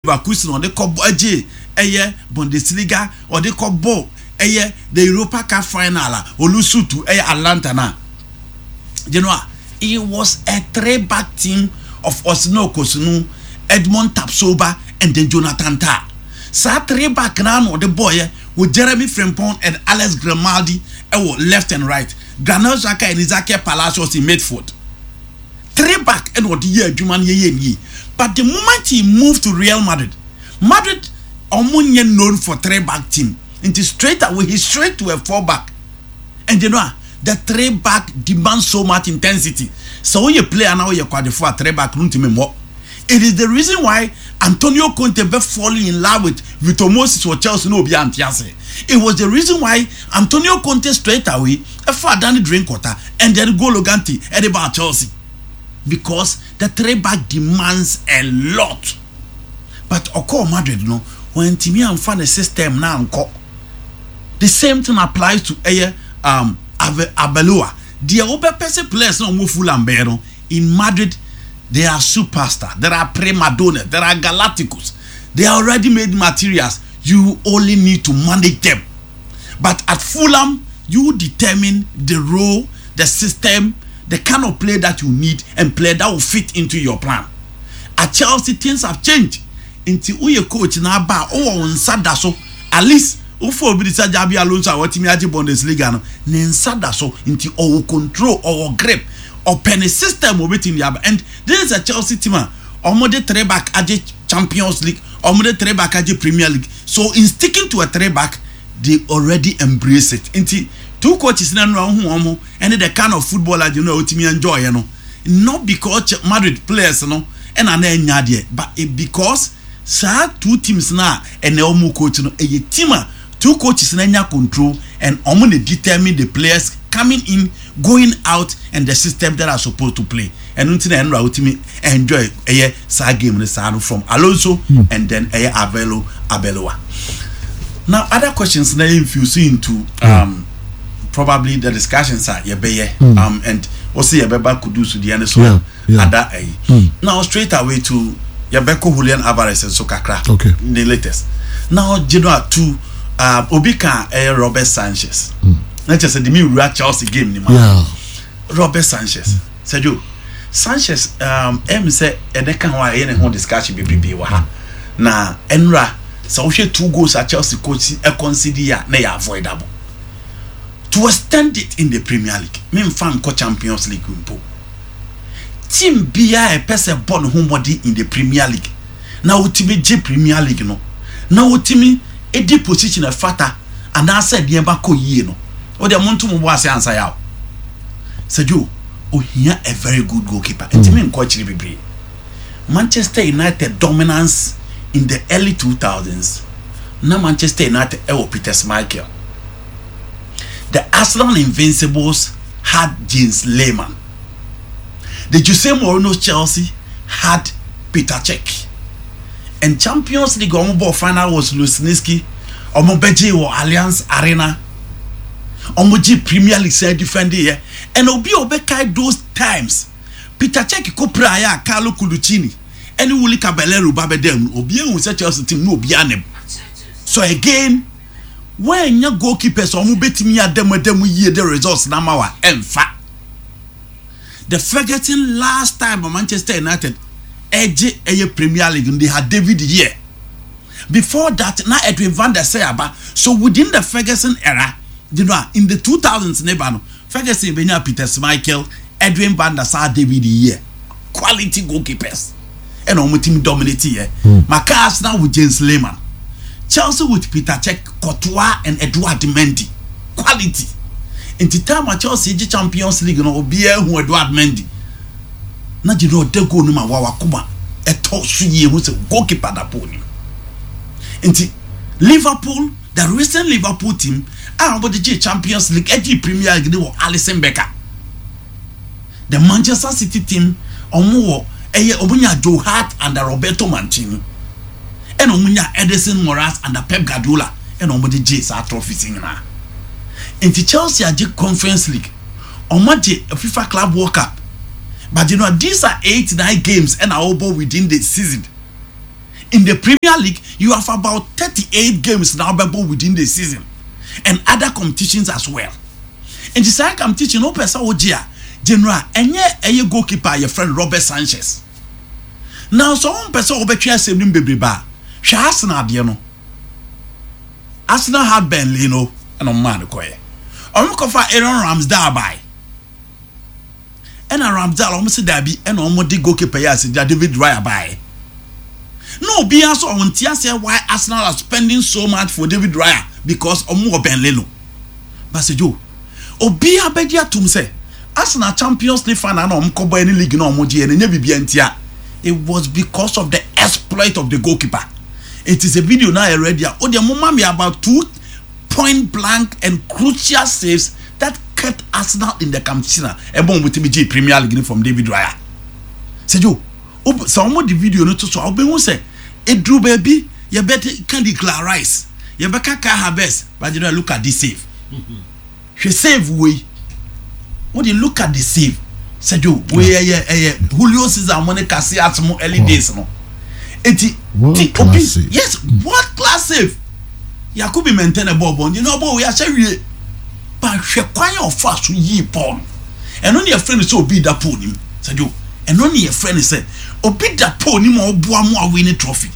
Leverkusen ɔde kɔ ɛgye ɛyɛ Bundesliga, ɔde kɔ bɔ ɛyɛ the Europa Cup final a ɔ lose to ɛyɛ Atalanta na it was a three back team of Osino Kosunu, Edmond Tapsoba and then Jonathan Tah. Saa three back na na ɔde bɔɔyɛ with Jeremy Frimpong and Alex Grimaldi ɛwɔ left and right, Granit Xhaka and Ezequiel Palacios in midfield. Three back ɛna ɔde yɛ adwuma no yɛyɛ nie. But the moment he moved to Real Madrid, Madrid ɔmo nyɛ known for three back team, nti straight away he straight to a four back. And you know ah, the three back demands so much intensity. Sɛ woyɛ player na woyɛ kwadefo a, three back no ntumi mmɔ. It is the reason why Antonio Conte bɛ falling in love with Victor Moses wɔ Chelsea na obi ante ase. It was the reason why Antonio Conte straight away ɛfa Danny Drinkwater and then Golo Kante ɛde ba Chelsea, because the three back demands a lot. But ɔkɔɔ Madrid no, wɔntumi amfa ne system na ankɔ. The same thing applies to ɛyɛ Arbeloa. Deɛ wobɛpɛ sɛ players na wɔn Fulham bɛyɛ no in Madrid, they are superstar, there are prima donnas, there are galacticos, they are already made materials. You only need to manage them. But at Fulham, you determine the role, the system, the kind of play that you need and play that will fit into your plan. At Chelsea, things have changed. Nti woyɛ coach na aba a, wowɔ wo nsa da so. At least wofo obi de sɛ Xabi Alonso a watumi agye Bundesliga no, ne nsa da so, nti ɔwɔ control, ɔwɔ grip, ɔpɛ ne system obetumi de aba. And this is a Chelsea team a ɔmo de three back agye Champions League, ɔmo de three back agye Premier League. So in sticking to a three back, they already embrace it. Nti two coaches na nura ohun wɔn ɛne the kind of football agye no a otumi enjoy no, not because Madrid players no ɛna na ɛnya adeɛ, but it because saa two teams na ɛna wɔn coach no ɛyɛ team a two coaches na nya control and wɔn na determine the players coming in, going out and the system that are supposed to play. Ɛno nti na ɛnura otumi enjoy ɛyɛ saa game no saa no from Alonso and then ɛyɛ Avelo Arbeloa. Now, other questions na infuse into probably the discussions a yɛbɛyɛ and wɔsi yɛbɛba Kudus deɛ no so. Ada ɛyi now straight away to yɛbɛkɔ Julian Alvarez nso kakra. The latest now Genoa to obi ka ɛyɛ Robert Sanchez na kyerɛ sɛ de mi wura Chelsea game ni ma. Robert Sanchez, Sergio Sanchez, ɛm sɛ ɛnɛ ka ho a ɛyɛ ne ho discussion bebrebe wɔ ha. Na ɛnura sɛ wohwɛ two goals a Chelsea coach ɛ concede a, na yɛ avoidable to extend it in the Premier League, memfa nkɔ Champions League mpo. Team biara ɛpɛ sɛ bɔ ne ho mmɔden in the Premier League na wotumi gye Premier League no na wotumi edi position ɛfata anaasɛ nneɛma kɔ yie no, o deɛ mo nto mo bɔ ase ansa yaw. Sergio, ohia a very good goalkeeper. Ntumi nkɔ akyiri bebree. Manchester United dominance in the early 2000s na Manchester United ɛwɔ Peter Schmeichel. The Arsenal Invincibles had Jens Lehmann. The Jose Mourinho Chelsea had Peter Cech. And Champions League ɔmo bɔ final was Luzhniki. Ɔmo bɛgye wɔ Allianz Arena. Ɔmo gye Premier League sɛ defend yɛ. And obi a ɔbɛkae those times, Peter Cech kɔ pira ayɛ a Carlo Cudicini ɛne Willy Caballero ba bɛda mu. Obi ehu sɛ Chelsea team no obi anim. So again, wɔanya goalkeepers a ɔmo bɛtumi adamu yie de results na ma wa ɛnfa. The Ferguson last time Manchester United ɛgye ɛyɛ Premier League, they had David Weir. Before that na Edwin van der Sar aba. So within the Ferguson era, in the 2000s ne ba no, Ferguson benya Peter Schmeichel, Edwin van der Sar, David Weir, quality goalkeepers, ɛna wɔn team dominate yɛ. Maka Arsenal with Jens Lehmann, Chelsea with Peter Cech, Courtois and Edouard Mendy, quality. Nti time a Chelsea gye Champions League no, obiara hu Edouard Mendy na gye no ɔda goal no ma wa wakoma ɛtɔ so yie ho sɛ goalkeeper da pole nim. Nti Liverpool, the recent Liverpool team a wɔde gye Champions League, ɛgye Premier League ne wɔ Alisson Becker. The Manchester City team, wɔn wɔ ɛyɛ wɔn nya Joe Hart under Roberto Mancini, ɛna wɔn nya Ederson Moraes under Pep Guardiola, ɛna wɔn de gye saa trophies nyinaa. Nti Chelsea agye Conference League, wɔn agye FIFA Club World Cup, but these are eight nine games ɛna wɔbɔ within the season. In the Premier League, you have about 38 games na wobɛbɔ within the season and other competitions as well. Nti saa competition no wopɛ sɛ wogye a, general ɛnyɛ ɛyɛ goalkeeper a yɛfrɛ no Robert Sanchez. Na sɛ wompɛ sɛ wobɛtwe asɛm no mu bebrebe a, hwɛ Arsenal deɛ no. Arsenal had Ben Leno ɛna ɔmo maa no kɔɛ. Ɔmo kɔfa Aaron Ramsdale bae. Ɛna Ramsdale ɔmo se daabi ɛna ɔmo de goalkeeper yi a sɛ David Raya baeɛ. Na obiara nso ɔmo nte aseɛ why Arsenal are spending so much for David Raya because ɔmo wɔ Ben Leno. But sɛ Joe, obiara bɛgye atum sɛ Arsenal Champions League final na ɔmo kɔbɔ ɛne league na ɔmo gyeɛ no ɛnyɛ biribiara ntia. It was because of the exploit of the goalkeeper. It is a video na yɛ ready a, o deɛ mo ma me about two point blank and crucial saves that kept Arsenal in the competition a ɛbɔ wɔn tumi gyee Premier League no from David Raya. Sɛ Joe, sɛ wɔn de video no to so a, wobɛhu sɛ eduru baabi yɛbɛka Declan Rice, yɛbɛka Kai Havertz, but you know, look at this save. Hwɛ save wei. Wode look at the save. Sɛ Joe, wei ɛyɛ ɛyɛ Julio Cesar mo ne Casillas mo early days no. Eti ti obi yes world class save. Yakubi Mɛntɛ na ɛbɔɔ bɔɔl nti na ɔbɔɔ wei ahyɛ wie. Ba hwɛ kwan a ɔfaa so yii bɔɔl no. Ɛno ne yɛfrɛ no sɛ obi da pole nim. Sɛ Joe, ɛno ne yɛfrɛ no sɛ obi da pole nim a ɔboa mo a win trophy.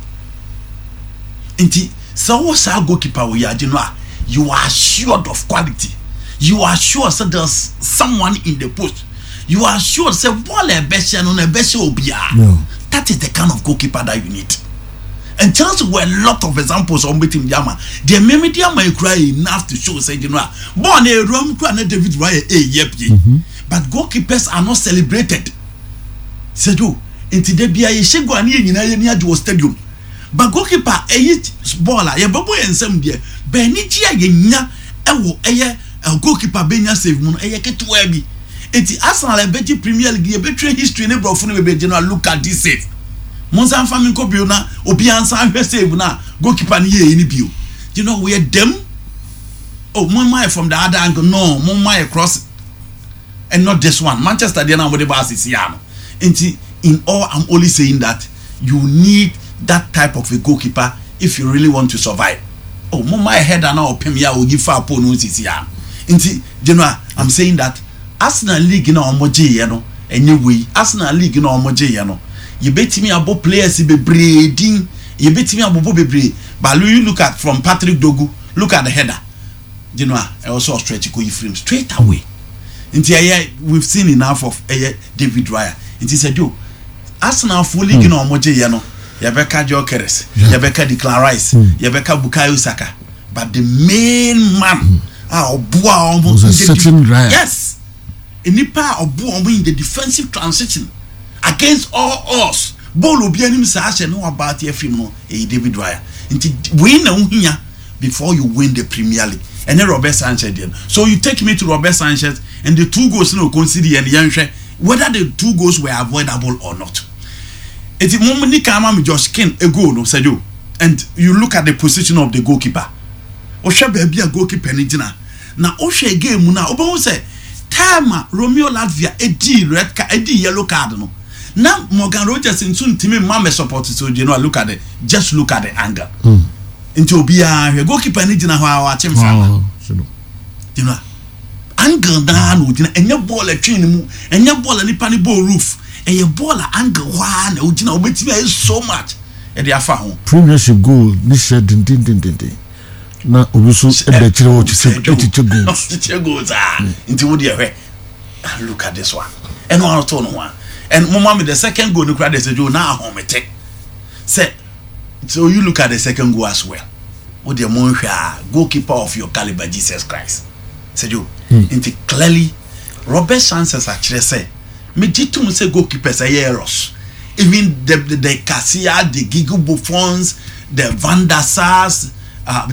Nti sɛ wowɔ saa goalkeeper wɔ yagye no a, you are assured of quality. You are sure sɛ there's someone in the post. You are sure sɛ bɔɔl a ɛbɛhyɛ no na ɛbɛhyɛ obiara. That is the kind of goalkeeper that you need. And Chelsea were a lot of examples ɔmo betumi de ama. Deɛ mmemme de ama ekura enough to show sɛ gyina a bɔɔl na ewura mu kura na David Raya eyi apue. But goalkeepers are not celebrated. Sɛjo nti de bia yɛhyɛ goal a ne yɛ nyinaa yɛ ni agye wɔ stadium. But goalkeeper ɛyi bɔɔl a yɛbɛbɔ yɛn nsam deɛ bɛn anigye a yɛnya ɛwɔ ɛyɛ goalkeeper bɛnya save mu no ɛyɛ ketewa bi. Nti Arsenal ɛbɛgye Premier League yɛbɛtwerɛ history ne borɔfo no bebree gyina look at this save. Monsan mfa me nkɔ bio na obiara nsan hwɛ save no a goalkeeper no yɛɛ no bio. You know we are dem. Oh, mo ma yɛ from the other angle. No, mo ma yɛ cross and not this one. Manchester deɛ na mo de ba asisi ya no. Nti in all I'm only saying that you need that type of a goalkeeper if you really want to survive. Oh, mo ma yɛ header na ɔpem ya oyi fa pole no sisi ya no. Nti general, I'm saying that Arsenal league na ɔmo gye yɛ no ɛnyɛ wei. Arsenal league na ɔmo gye yɛ no yɛbɛtumi abɔ players bebree din, yɛbɛtumi abobɔ bebree, but you look at from Patrick Dorgu, look at the header general, ɛwɔ sɛ ɔstretch kɔ yi frame straight away. Nti ɛyɛ we've seen enough of ɛyɛ David Raya. Nti sɛ Joe, Arsenal fo league na ɔmo gye yɛ no, yɛbɛka Gyökeres, yɛbɛka Declan Rice, yɛbɛka Bukayo Saka, but the main man a ɔboa ɔmo Was a certain Raya. Yes, nipa a ɔboa ɔmo in the defensive transition against all odds, bɔɔl obi anim saa ahyɛ ne waba ate afiri mu no, ɛyɛ David Raya. Nti wei na wohia before you win the Premier League. Ɛne Robert Sanchez deɛ no, so you take me to Robert Sanchez and the two goals na oconcede yɛ no, yɛnhwɛ whether the two goals were avoidable or not. Eti mo ni kan ma mi Josh King a goal no, Sergio, and you look at the position of the goalkeeper. Wohwɛ baabi a goalkeeper no gyina na wohwɛ game mu no a, wobɛhu sɛ time a Romeo Lavia edi red card, edi yellow card no, na Morgan Rogers nso ntumi mma mɛ support. So you know, look at the just look at the angle. Nti obiara hwɛ goalkeeper no gyina hɔ a wakye mframa. Gyina angle naa na ogyina, ɛnyɛ bɔɔl ɛtwe ne mu, ɛnyɛ bɔɔl a nipa ne bɔɔl roof, ɛyɛ bɔɔl a angle hɔ a na ogyina, obetumi ayɛ so much ɛde afa ho. Premiership goal ne hyɛ dendendendenden na obi nso ɛda akyire hɔ kyekyɛ ɛkyekyɛ goals. Kyekyɛ goals aa, nti wo deɛ hwɛ and look at this one, ɛno ano to no ho a, and mo ma mi the second goal no kura de sɛ Joe na ahomete sɛ. So you look at the second goal as well. Wo deɛ mo nhwɛ a, goalkeeper of your caliber, Jesus Christ, sɛ Joe. Nti clearly Robert Sanchez akyerɛ sɛ megye tom sɛ goalkeepers ɛyɛ errors. Even the Casillas, the Gigi Buffons, the Van der Sars,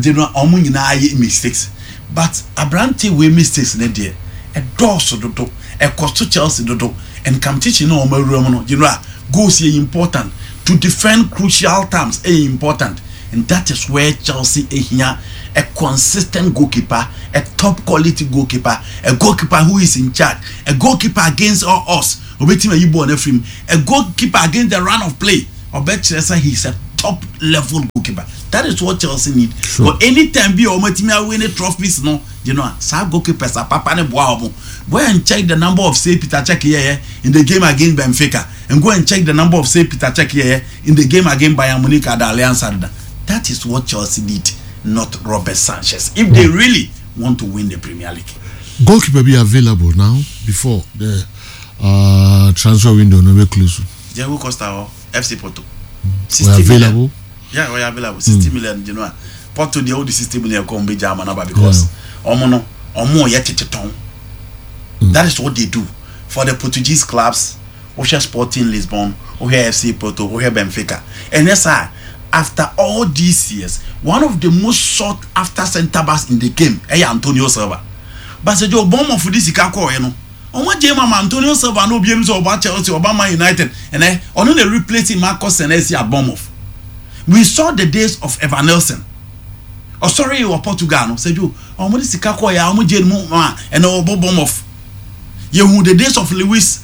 de no ɔmo nyinaa yɛ mistakes, but aberante wei mistakes ne deɛ ɛdɔɔso dodo, ɛkɔ so Chelsea dodo, and competition na ɔmo awura mu no, general, goals yɛ important to defend, crucial times ɛyɛ important, and that is where Chelsea ehia a consistent goalkeeper, a top quality goalkeeper, a goalkeeper who is in charge, a goalkeeper against all odds obetumi ayi bɔɔl n'afiri mu, a goalkeeper against the run of play ɔbɛkyerɛ sɛ he is a Top level goalkeeper. That is what Chelsea need. But anytime bi a wɔn atumi awin trophies no, saa goalkeepers apapa ne boa wɔn. Go and check the number of save Peter Cech yɛyɛ in the game against Benfica, and go and check the number of save Peter Cech yɛyɛ in the game against Bayern Munich at the Allianz Arena. That is what Chelsea need, not Robert Sanchez, if they really want to win the Premier League. Goalkeeper be available now before the transfer window no be close. Diego Costa or FC Porto. 60 Were available. Yeah, we available. 60 million. Porto deɛ wode 60 million kɔ ɔmo bɛgya ama no aba because ɔmo no ɔmo yɛ tete tɔn. That is what they do for the Portuguese clubs. Wohwɛ Sporting Lisbon, wohwɛ FC Porto, wohwɛ Benfica. Ɛnyɛ saa, after all these years, one of the most sought after centre backs in the game ɛyɛ Antonio Silva. But sɛ gye Bournemouth de sika kɔɔɛ no, ɔmo agye ma Antonio Silva na obi anim sɛ ɔba Chelsea, ɔba Man United, ɛnɛ ɔno na replace Marcus Senesi at Bournemouth. We saw the days of Evanilson. Ɔsɔre wɔ Portugal no, sɛ jo ɔmo de sika kɔɔɛ a ɔmo gye mu ma ɛnɛ ɔbɔ Bournemouth. Yehu the days of Luis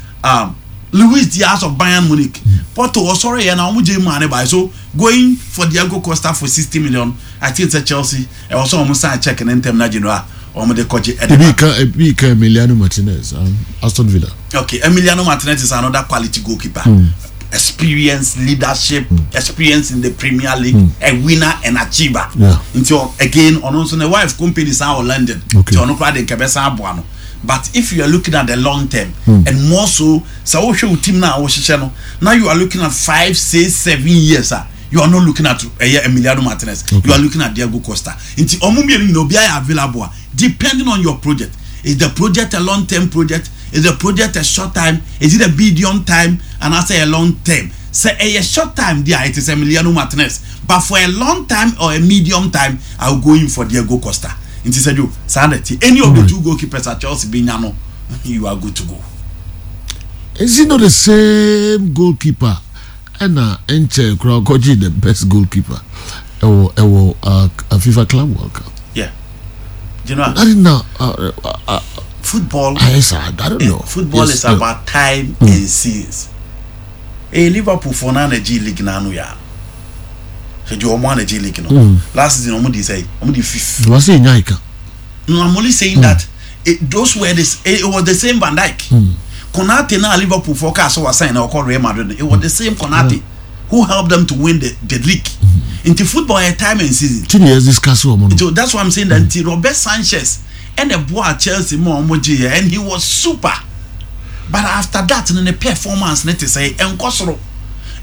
Diaz of Bayern Munich. Porto ɔsɔre yɛ na ɔmo gye mu ane ba. So going for Diego Costa for 60 million, I think sɛ Chelsea ɛwɔ sɛ ɔmo sign check ne ntɛm na gye no a ɔmo de kɔgye ɛde Ebi ba. Ka ebi ka Emiliano Martinez, Aston Villa. Okay, Emiliano Martinez is another quality goalkeeper. Experience, leadership, experience in the Premier League, a winner and achiever. Nti again, ɔno nso ne wife company san wɔ London. Nti ɔno koraa de nkɛbɛ san aboa no. But if you are looking at the long term, and more so, sɛ wohwɛ wo team na wohyehyɛ no, now you are looking at 5, 6, 7 years ah, you are not looking at ɛyɛ Emiliano Martinez. You are looking at Diego Costa. Nti ɔmo mmienu nyinaa obiara yɛ available a, depending on your project. Is the project a long term project? Is the project a short time? Is it a medium time? And I say a long term. Sɛ a short time there, it is Emiliano Martinez. But for a long time or a medium time, I will go in for Diego Costa. Nti sɛ jo saa na ti any of the two goalkeepers at Chelsea bi nya no, you are good to go. Is he not the same goalkeeper? Ɛna nkyɛn koraa ɔkɔgye the best goalkeeper ɛwɔ FIFA Club World Cup. Yeah. You know, I didn't know. Football. I don't know. Football is about time and seasons. Liverpool for na na G League na ano ya. So do ɔmo ana G League no. Last season ɔmo di sɛ ɔmo di fifth. Wọ́n sè nya ika. No, I'm only saying that it, those were this. It was the same Van Dijk. Konate na Liverpool for car so was sign or call Real Madrid. It was the same Konate who helped them to win the league. Into football, a time and season. Tí ni yẹ discuss wɔn no. So that's why I'm saying that mm. Robert Sanchez and the boy at Chelsea more and he was super. But after that, in the performance, let us say, and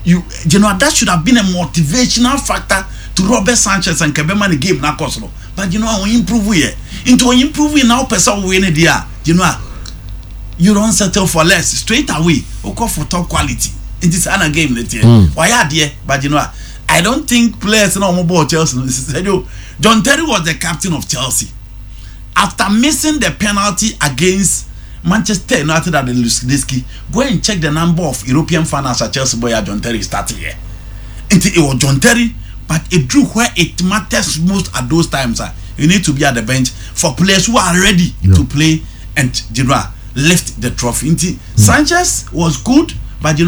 you that should have been a motivational factor to Robert Sanchez and Kebema the game na kosoro. But I improve here. Into improve now, person win it there. You don't settle for less straight away. You go for top quality. In this other game, let here. Why are there? But I don't think players no more ball Chelsea. John Terry was the captain of Chelsea. After missing the penalty against Manchester United at the Luzhniki, go and check the number of European fans at Chelsea boy John Terry starting here. It was John Terry, but it drew where it matters most at those times. You need to be at the bench for players who are ready to play and lift the trophy. Nti, Sanchez was good, but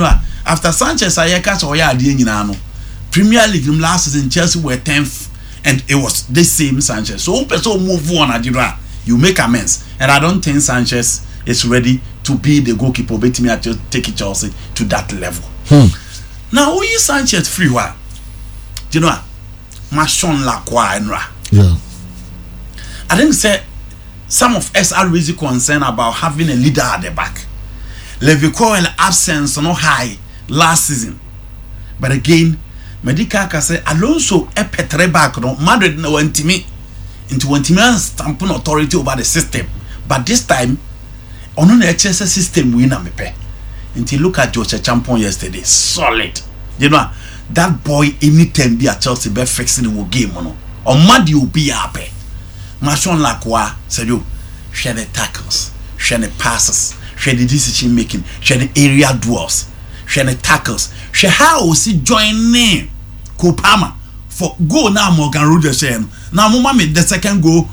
after Sanchez, ayeka so ya adie nyina no. Premier League last season Chelsea were 10th, and it was the same Sanchez. So person move on adira, you make amends. And I don't think Sanchez is ready to be the goalkeeper. But me to take Chelsea to that level. Now, who is Sanchez free? Why? Do you know? Maxence Lacroix. I think say some of us are really concerned about having a leader at the back. Levi Colwill absence no high last season, but again, Medica can say Alonso a petre back no Madrid no wantimi into wantimi stamp authority over the system, but this time on the HSS system we na mepe. Until look at Josh Acheampong yesterday, solid. You know that boy anytime be at Chelsea be fixing the game no. On Madi obi ape. Maxence Lacroix said you share the tackles, share the passes, share the decision making, share the area duels, share the tackles, share how see join name Cole Palmer for goal now Morgan Rogers share no. Now mama me the second goal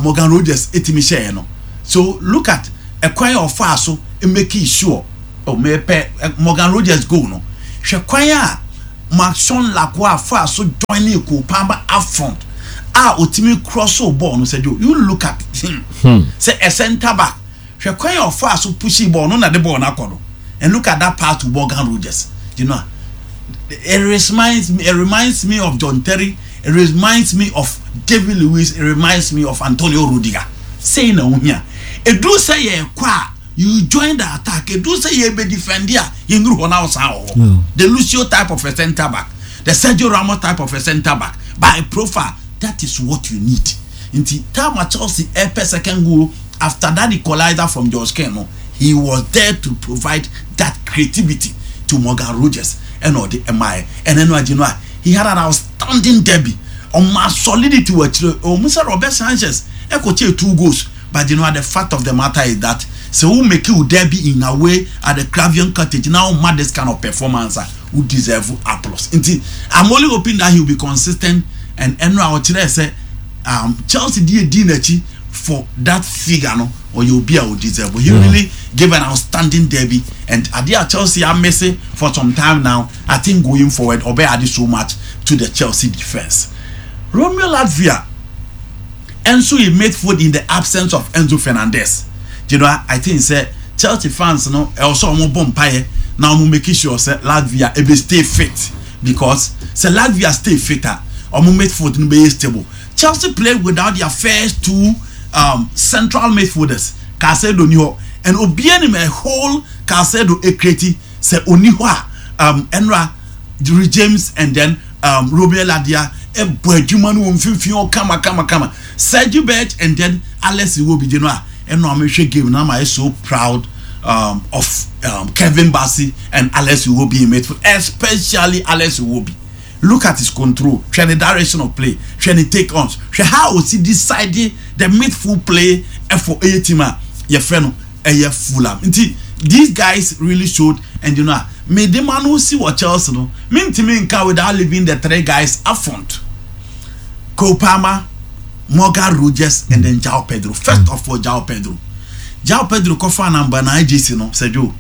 Morgan Rogers etimi share no. So look at a kwan of far so make sure oh me pe Morgan Rogers goal no. Hwɛ kwan a Maxence Lacroix fa so join Cole Palmer up front a otimi cross ball no, Sergio, you look at him sɛ a centre back, hwɛ kwan a ɔfa so push ball no na de ball no akɔ no, and look at that pass to Morgan Rogers. It reminds me of John Terry, it reminds me of David Luiz, it reminds me of Antonio Rudiger. Sei na ohia edu sɛ yɛ kɔ a, you join the attack. Edu sɛ yɛ bɛ defend a, yɛ nuru hɔ na ɔsan wɔ hɔ. The Lucio type of a centre back, the Sergio Ramos type of a centre back by profile, that is what you need. Nti time a Chelsea ɛpɛ second goal after that equalizer from George Ken no, he was there to provide that creativity to Morgan Rogers, ɛna ɔde ɛmaa yɛ. Ɛna ɛno agye no a, he had an outstanding derby. Ɔma solidity wɔ akyire. Ɔmo sɛ Robert Sanchez ɛkɔ kyɛ two goals, but the fact of the matter is that sɛ wo make you derby in away at the Craven Cottage now, ma this kind of performance a, wo deserve applause. Nti I'm only hoping that he will be consistent, and ɛno a ɔkyerɛ sɛ Chelsea di edi n'akyi for that figure no, ɔyɛ obi a o deserve. He really gave an outstanding derby, and adeɛ a Chelsea are missing for some time now, I think going forward ɔbɛ add so much to the Chelsea defence. Romeo Lavia nso he midfield in the absence of Enzo Fernandez. I think sɛ Chelsea fans no, ɛwɔ sɛ ɔmo bɔ mpaeɛ na ɔmo make sure sɛ Lavia ebe stay fit, because sɛ Lavia stay fit a, ɔmo midfield no bɛyɛ stable. Chelsea played without their first two central midfielders. Caicedo ni hɔ, and obiara nim a whole Caicedo ekreti sɛ oni hɔ a, ɛnra Reece James and then Romeo Lavia ɛbɔ adwuma no wɔ mfimfini hɔ kama kama kama. Sergio Berg and then Alex Iwobi gye no a, ɛno a mehwɛ game na ma yɛ so proud of Kevin Bassey and Alex Iwobi in midfield, especially Alex Iwobi. Look at his control, hwɛ ne direction of play, hwɛ ne take ons, hwɛ how osi decide the midfield play ɛfɔ ɛyɛ team a yɛfrɛ no ɛyɛ Fulham. Nti these guys really showed, and a mede ma no si wɔ Chelsea no, mintimi nka without leaving the three guys up front: Cole Palmer, Morgan Rogers and then João Pedro. First of all, João Pedro. João Pedro kɔfa number 9 jersey no, Sergio,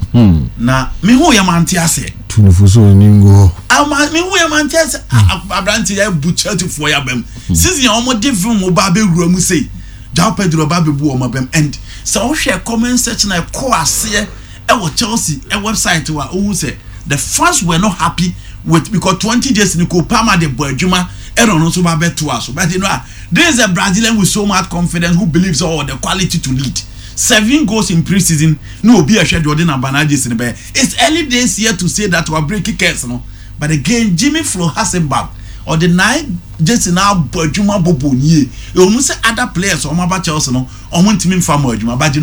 na mehu yɛ mante ase. Tunufo so onim gu hɔ. Ama mehu yɛ mante ase. Aberante yɛ bu Chelsea foɔ yɛ abam season a wɔn de film ba abɛwura mu sei, João Pedro ba abɛbu wɔn abam. And sɛ wohwɛ comment section a ɛkɔ aseɛ ɛwɔ Chelsea ɛ website wa, ohun sɛ the fans were not happy with, because 20 days ni Cole Palmer de bɔ adwuma, ɛna ɔno nso ba bɛto aso. But this is a Brazilian with so much confidence who believes all the quality to lead. Seven goals in pre-season no, obi ɛhwɛ deɛ ɔde number 9 jersey no bɛyɛ. It's early days here to say that wa break curse no, but again, Jimmy Floyd Hasselbaink, ɔde 9 jersey na abɔ adwuma bɔbɔ nie. Ɔmo sɛ other players ɔmo aba Chelsea no, ɔmo ntumi nfa mo adwuma, but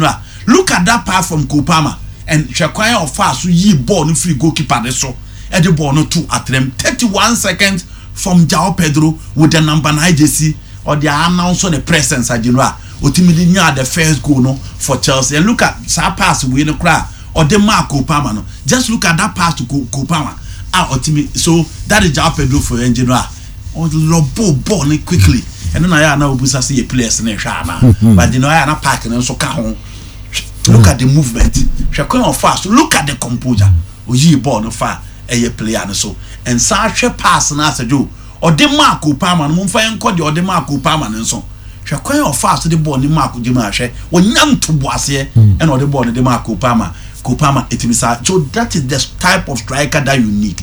look at that pass from Cole Palmer and hwɛ kwan a ɔfa so yi ball no firi goalkeeper ne so, ɛde ball no to atrɛm. 31 seconds from João Pedro with the number 9 jersey, ɔde announce ne presence agyinu a otimi de nya the first goal no for Chelsea. And look at saa pass wei no koraa ɔde maa Cole Palmer no. Just look at that pass to Cole Palmer a ɔtimi. So that is João Pedro for yɛn gyinu a ɔlɔbɔ ball no quickly. Ɛno na yɛ a na obusa sɛ yɛ players no hwɛ ana, but yɛ a na park no nso ka ho. Look at the movement, hwɛ kwan ɔfa so, look at the composure, oyii ball no fa ɛyɛ player no so. Nsa ahwɛ pass no asɛdwo ɔde maa Cole Palmer no. Momfa yɛn nkɔ deɛ ɔde maa Cole Palmer no nso. Hwɛ kwan a ɔfa so de ball ne maa gyema. Ahwɛ ɔnya ntoboaseɛ, ɛna ɔde ball no de maa Cole Palmer. Cole Palmer etimi saa. So that is the type of striker that you need.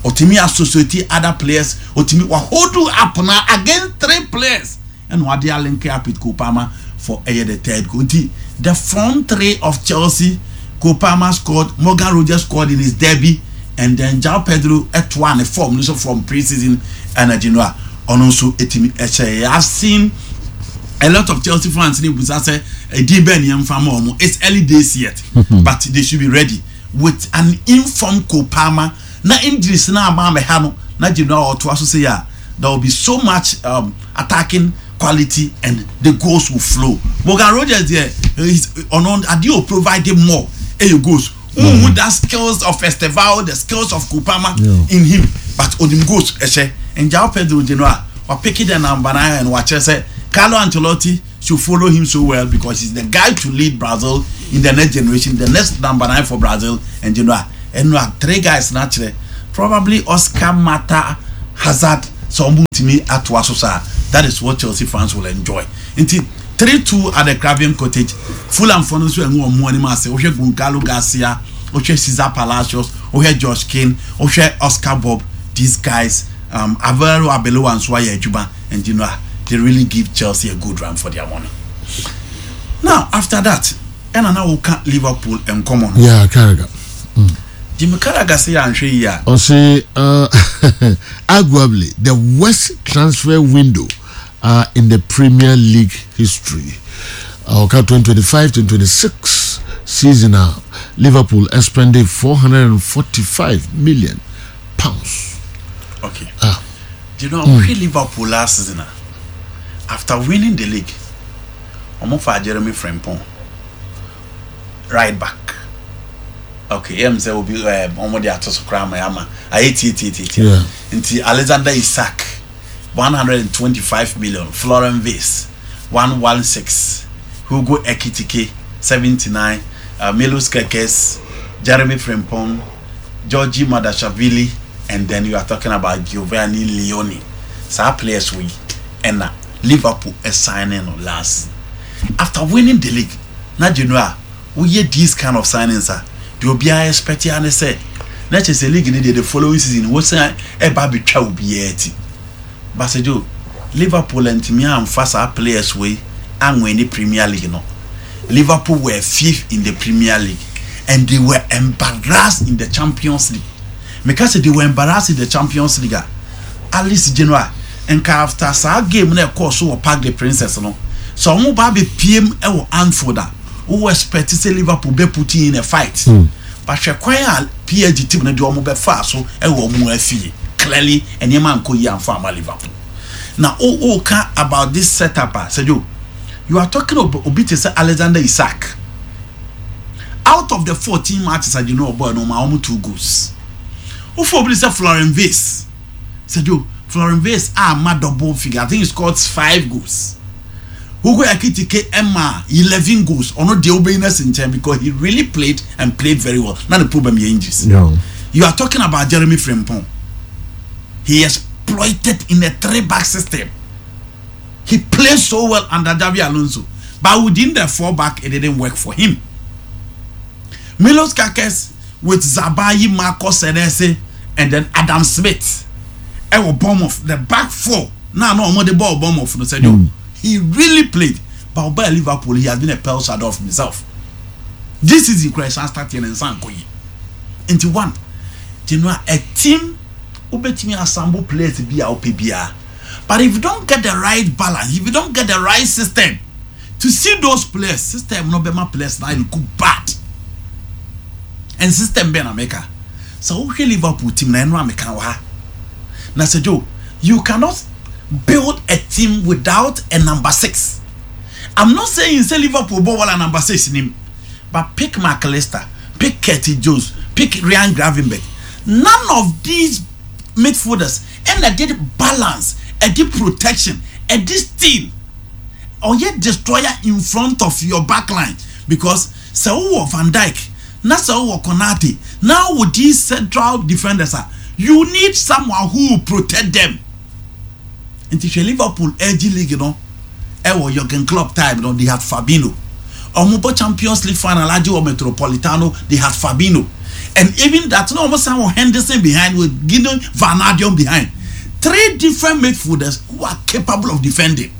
Ɔtumi associate other players, ɔtumi wa hold you up na against three players, ɛna wade alink up with Cole Palmer for ɛyɛ the third goal. Nti the front three of Chelsea, Cole Palmer scored, Morgan Rogers scored in his debut, and then João Pedro ɛtoa ne form no so from pre-season energy no a ɔno nso etimi ɛhyɛ. I have seen a lot of Chelsea fans ne busa sɛ ɛdin bɛn ni ɛnfa ma ɔmo. It's early days yet, but they should be ready with an informed Cole Palmer na injuries na ama amɛha no na gyina a ɔtoa so sɛ yɛ a, there will be so much attacking quality and the goals will flow. Morgan Rogers there is ɔno adeɛ o, provide more ɛyɛ goals. That skills of Estevao, the skills of Cole Palmer in him, but onim goals ɛhyɛ. And João Pedro gyina a wapick the number 9 and wakyerɛ sɛ Carlo Ancelotti should follow him so well, because he's the guy to lead Brazil in the next generation, the next number 9 for Brazil. And ɛno a three guys na kyerɛ. Probably Oscar, Mata, Hazard sɛ ɔmo tumi atoa so saa, that is what Chelsea fans will enjoy. Nti 3-2 at the Craven Cottage. Fulham fo no nso ɛngu ɔmo anim ase. Wohwɛ Goncalo Garcia, wohwɛ Cesar Palacios, wohwɛ Josh King, wohwɛ Oscar Bob, these guys, Alvaro Arbeloa nso ayɛ adwuma, and you know ah, they really give Chelsea a good run for their money. Now after that, ɛna na woka Liverpool nkɔmɔ no. Yeah, Carragher. Jimmy Carragher sɛ yɛanhwɛ yi a. Ɔse arguably the worst transfer window in the Premier League history. Ɔka 2025-2026 season a Liverpool spending £445 million. Okay. Ah. Do you know, mm. Liverpool last season, after winning the league, ɔmo fa Jeremy Frimpong, right back. Okay, yɛm sɛ obi ɔmo de ato so koraa ma ama ayɛ tie tie tie tie. Nti Alexander Isak, 125 million, Florian Wirtz, 116, Hugo Ekitike, 79, Milos Kerkez, Jeremy Frimpong, Giorgi Mamardashvili, and then you are talking about Giovanni Leoni. Saa players wei ɛna Liverpool signing no last season. After winning the league, na Genoa woyɛ these kind of signings a, deɛ obiara expect ya ne sɛ na kyerɛ sɛ league ne deɛ, the following season wosan ɛba abɛtwa obiara ti. Basejo, Liverpool ntumi amfa saa players wei anwin Premier League no. Liverpool were fifth in the Premier League and they were embarrassed in the Champions League. Meka sɛ they were embarrassed in the Champions League a, Alice, Genoa nka after saa game na ɛkɔɔ so wɔ Parc des Princes no, sɛ ɔmo ba abɛpiem ɛwɔ Anfield a, wowɔ expect sɛ Liverpool bɛ put in a fight, but hwɛ kwan a PSG team no deɛ ɔmo bɛfaa so ɛwɔ ɔmo afie. Clearly nneɛma nkɔ yie amfa ama Liverpool. Na o o ka about this setup a, Sɛjo, you are talking about obi te sɛ Alexander Isak. Out of the 14 matches a Genoa ɔbɔ no, ɔmo ɔmo two goals. Wofo obi te sɛ Florian Wirtz, Sɛjo, Florian Wirtz a ma double figure, I think he scored five goals. Hugo Ekitike ɛma 11 goals. Ɔno deɛ wobɛyi no asi nkyɛn because he really played and played very well. Na ne problem yɛ injuries. You are talking about Jeremy Frimpong. He exploited in a three back system. He played so well under Xabi Alonso, but within the four back, it didn't work for him. Milos Kerkez with Zabayelye, Marcos Senesi, and then Adam Smith ɛwɔ Bournemouth, the back four na ɔmo de ball Bournemouth no sɛ he really played, but ɔbaa Liverpool, he has been a pale shadow of himself. This season kura ɛsan start yɛn nsa nkɔ yi. Nti one, Genoa, a team wobɛtumi assemble players bi a wopɛ biara, but if you don't get the right balance, if you don't get the right system to see those players, system no bɛma players na look bad. And system bɛn na meka sɛ wohwɛ Liverpool team na ɛno a meka wɔ ha na sɛ Joe, you cannot build a team without a number six. I'm not saying say Liverpool bɔ wala number six nim, but pick Mac Allister, pick Curtis Jones, pick Ryan Gravenberch, none of these midfielders ɛna did balance, ɛdi protection, ɛdi steal, ɔyɛ destroyer in front of your back line, because sɛ wowɔ Van Dijk na sɛ wowɔ Konate na wɔ these central defenders a, you need someone who will protect them. Nti hwɛ, Liverpool ɛgye league no ɛwɔ Jurgen Klopp time no, they had Fabinho. Ɔmo bɔ Champions League final agye wɔ Metropolitano, they had Fabinho, and even that no, ɔmo san wɔ Henderson behind with Gini Wijnaldum behind, three different midfielders who are capable of defending.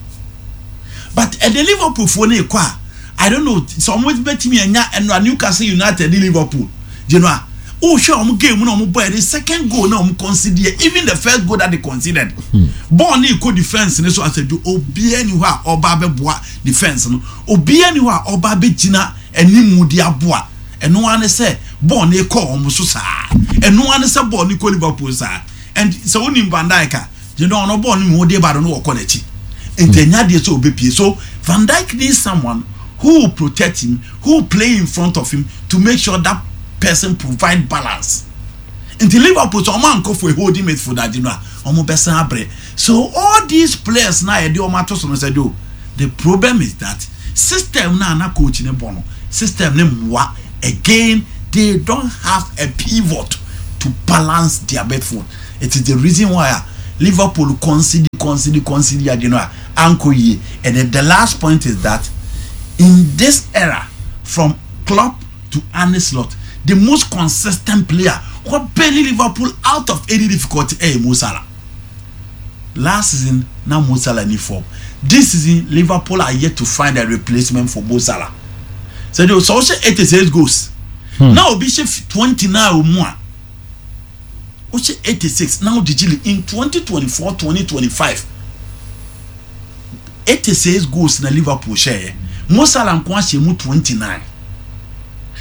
But ɛde Liverpool foɔ no ekɔ a, I don't know sɛ ɔmo bɛtumi anya ɛno a. Newcastle United ne Liverpool, Genoa, wohwɛ ɔmo game na ɔmo bɔ, yɛ second goal na ɔmo concede yɛ, even the first goal that they conceded, ball ne kɔ defence ne so asɛdwo, obiara ni hɔ a ɔba abɛboa defence no, obiara ni hɔ a ɔba abɛgyina animu de aboa. Ɛno ara ne sɛ ball ne kɔ ɔmo so saa, ɛno ara ne sɛ ball ne kɔ Liverpool saa. And sɛ wonim Van Dijk a, Genoa, ɔno ball ne mu ɔde ba no no wɔkɔ n'akyi, nti ɛnya deɛ sɛ ɔbɛpie. So Van Dijk needs someone who will protect him, who will play in front of him to make sure that person provide balance. Nti Liverpool sɛ ɔmo ankɔ for a holding midfield adi no a, ɔmo bɛsan abrɛ. So all these players na yɛde ɔmo ato so no sɛ do, the problem is that system na ana coach ne bɔ no, system ne mmoa. Again, they don't have a pivot. to balance their midfield. It is the reason why a Liverpool concede concede concede ade no a ankɔ yie. And then the last point is that in this era from Klopp to Arne Slot, the most consistent player who barely Liverpool out of any difficulty ɛyɛ Mo Salah. Last season na Mo Salah ni form. This season Liverpool are yet to find a replacement for Mo Salah. Sɛ de sɛ ɔhyɛ 86 goals na obi hyɛ 29 wɔ mu a, wohyɛ 86 na wogyegye in 2024 2025, 86 goals na Liverpool hyɛɛ, Mo Salah nko ahyɛ mu 29,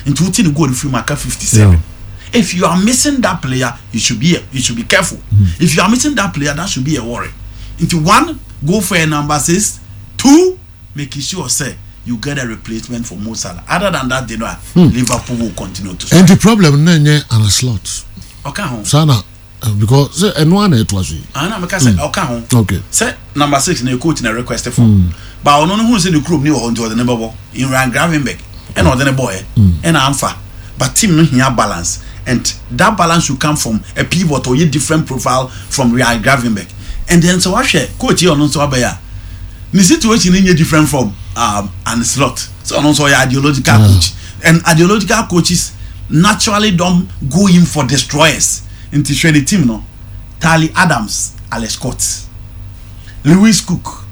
nti wote ne goal no firi mu aka 57. If you are missing that player, you should be careful. If you are missing that player, that should be a worry. Nti one, go for a number six; two, make sure sɛ you get a replacement for Mo Salah. Other than that, they know Liverpool will continue to And the problem no nyɛ Arne Slot. Ɔka ho. Saa na because sɛ ɛno ana ɛtoa so yi. Ana meka sɛ ɔka ho. Sɛ number six na coach na request for, but ɔno no hu sɛ ne kurom ni wɔ hɔ, nti ɔde ne bɛbɔ Ryan Gravenberch ɛna ɔde ne bɔɔyɛ ɛna amfa. But team no hia balance, and that balance should come from a pivot or a different profile from Ryan Gravenberch. And then sɛ wahwɛ coach yi, ɔno nso abɛyɛ a ne situation no nyɛ different from Arne Slot, so ɔno nso ɔyɛ ideological coach, and ideological coaches naturally don't go in for destroyers. Nti hwɛ ne team no: Charlie Adams, Alex Scott, Lewis Cook,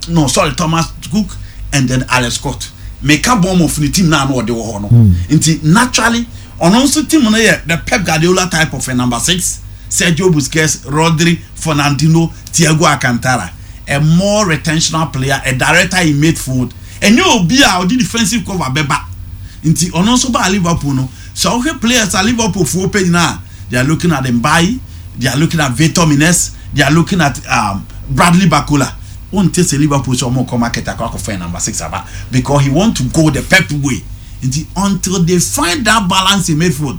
no, sorry, Thomas Cook and then Alex Scott. Meka Bournemouth ne team naa na ɔde wɔ hɔ no. Nti naturally ɔno nso team no yɛ the Pep Guardiola type of a number six: Sergio Busquets, Rodri, Fernandinho, Thiago Alcantara, a more retentional player, a director in midfield. Ɛnyɛ obi a ɔde defensive cover bɛba. Nti ɔno nso ba Liverpool no, sɛ ɔhwɛ players a Liverpool foɔ pɛ nyinaa, they are looking at Mbaye, they are looking at Victor Munoz, they are looking at Bradley Barcola. Wonte sɛ Liverpool sɛ ɔmo kɔ market akɔ akɔfɛn number six aba, because he want to go the Pep way. Nti until they find that balance in midfield,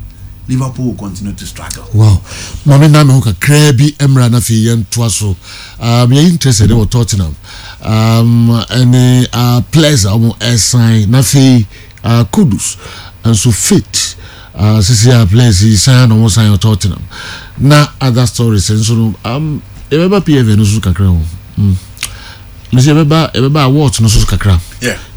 Liverpool will continue to struggle. Wow, maame, na me ho kakraa bi mmra na afei yɛntoa so. Yɛ interested wɔ Tottenham ɛne players a wɔn ɛsan na afei Kudus nso fit sisi a players yi san na wɔn san wɔ Tottenham na other stories nso no. Yɛbɛba PFA no so kakra ho. Mesi yɛbɛba awards no so kakra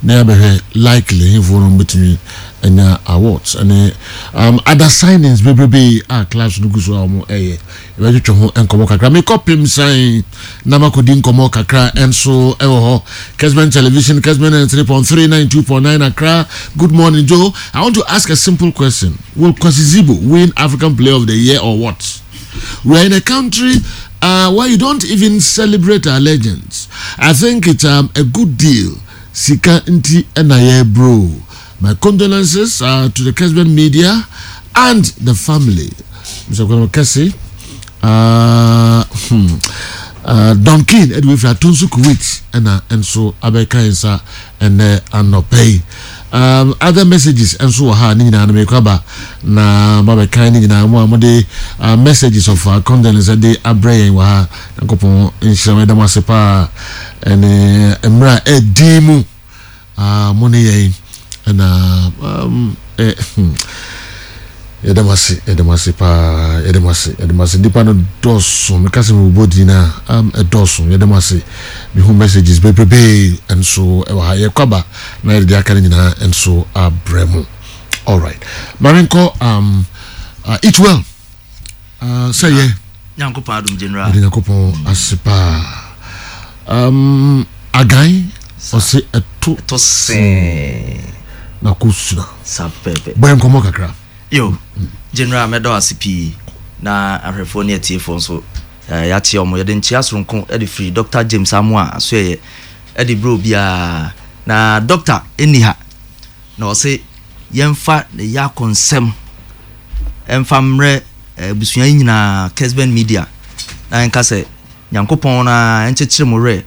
na yɛabɛhwɛ likely hefoɔ no bɛtumi anya awards ɛne other signings bebrebe a clubs no gu so a wɔn ɛyɛ. Yɛbɛtwetwe ho nkɔmmɔ kakra. Mekɔ pem san na makɔdi nkɔmmɔ kakra nso ɛwɔ hɔ. Kesben Television, Kesben 3.3, 92.9 Accra. Good morning, Joe. I want to ask a simple question: will Kwasi Zibo win African Player of the Year or what? We are in a country where you don't even celebrate our legends. I think it's a good deal. Sika nti ɛna yɛ bro. My condolences to the Kesben media and the family. Mr. Kwame Kese, Don King ɛde wefiri Atonso Kuwait ɛna nso abɛka yɛn nsa ɛnɛ anɔpɛ yi. Other messages nso wɔ ha ne nyinaa no, mekɔ aba na mabɛkan ne nyinaa mu a mode messages of condolence de abrɛ yɛn wɔ ha. Nyankopɔn nhyira mo, ɛda mo ase paa ɛne mmerɛ a ɛdin mu mo ne yɛn ɛna yɛda mo ase, yɛda mo ase paa, yɛda mo ase, yɛda mo ase. Nipa no dɔɔso, meka sɛ mebobɔ din a ɛdɔɔso. Yɛda mo ase. Mehu messages bebrebee nso ɛwɔ ha. Yɛkɔ aba na yɛde aka no nyinaa nso abrɛ mu. Alright, maame, nkɔ eat well sɛ yɛ Nyankopɔn adom, general. Yɛde Nyankopɔn ase paa. Agan ɔse ɛto ɛtɔ sɛn na kɔ suna. Sa pɛpɛ. Bɔyɛ nkɔmmɔ kakra. Yo, general, mɛdɔ ase pii na ahwɛfoɔ ne atiefoɔ nso yɛate ɔmo. Yɛde nkyea soronko de firi Dr James Amoa asoɛyɛ ɛde berɛ obiara na doctor ɛnni ha na ɔse yɛmfa ne yɛ akɔnsɛm ɛmfa mmerɛ abusua yi nyinaa, Kesben Media, na yɛnka sɛ Nyankopɔn na ɛnkyekyere mo werɛ.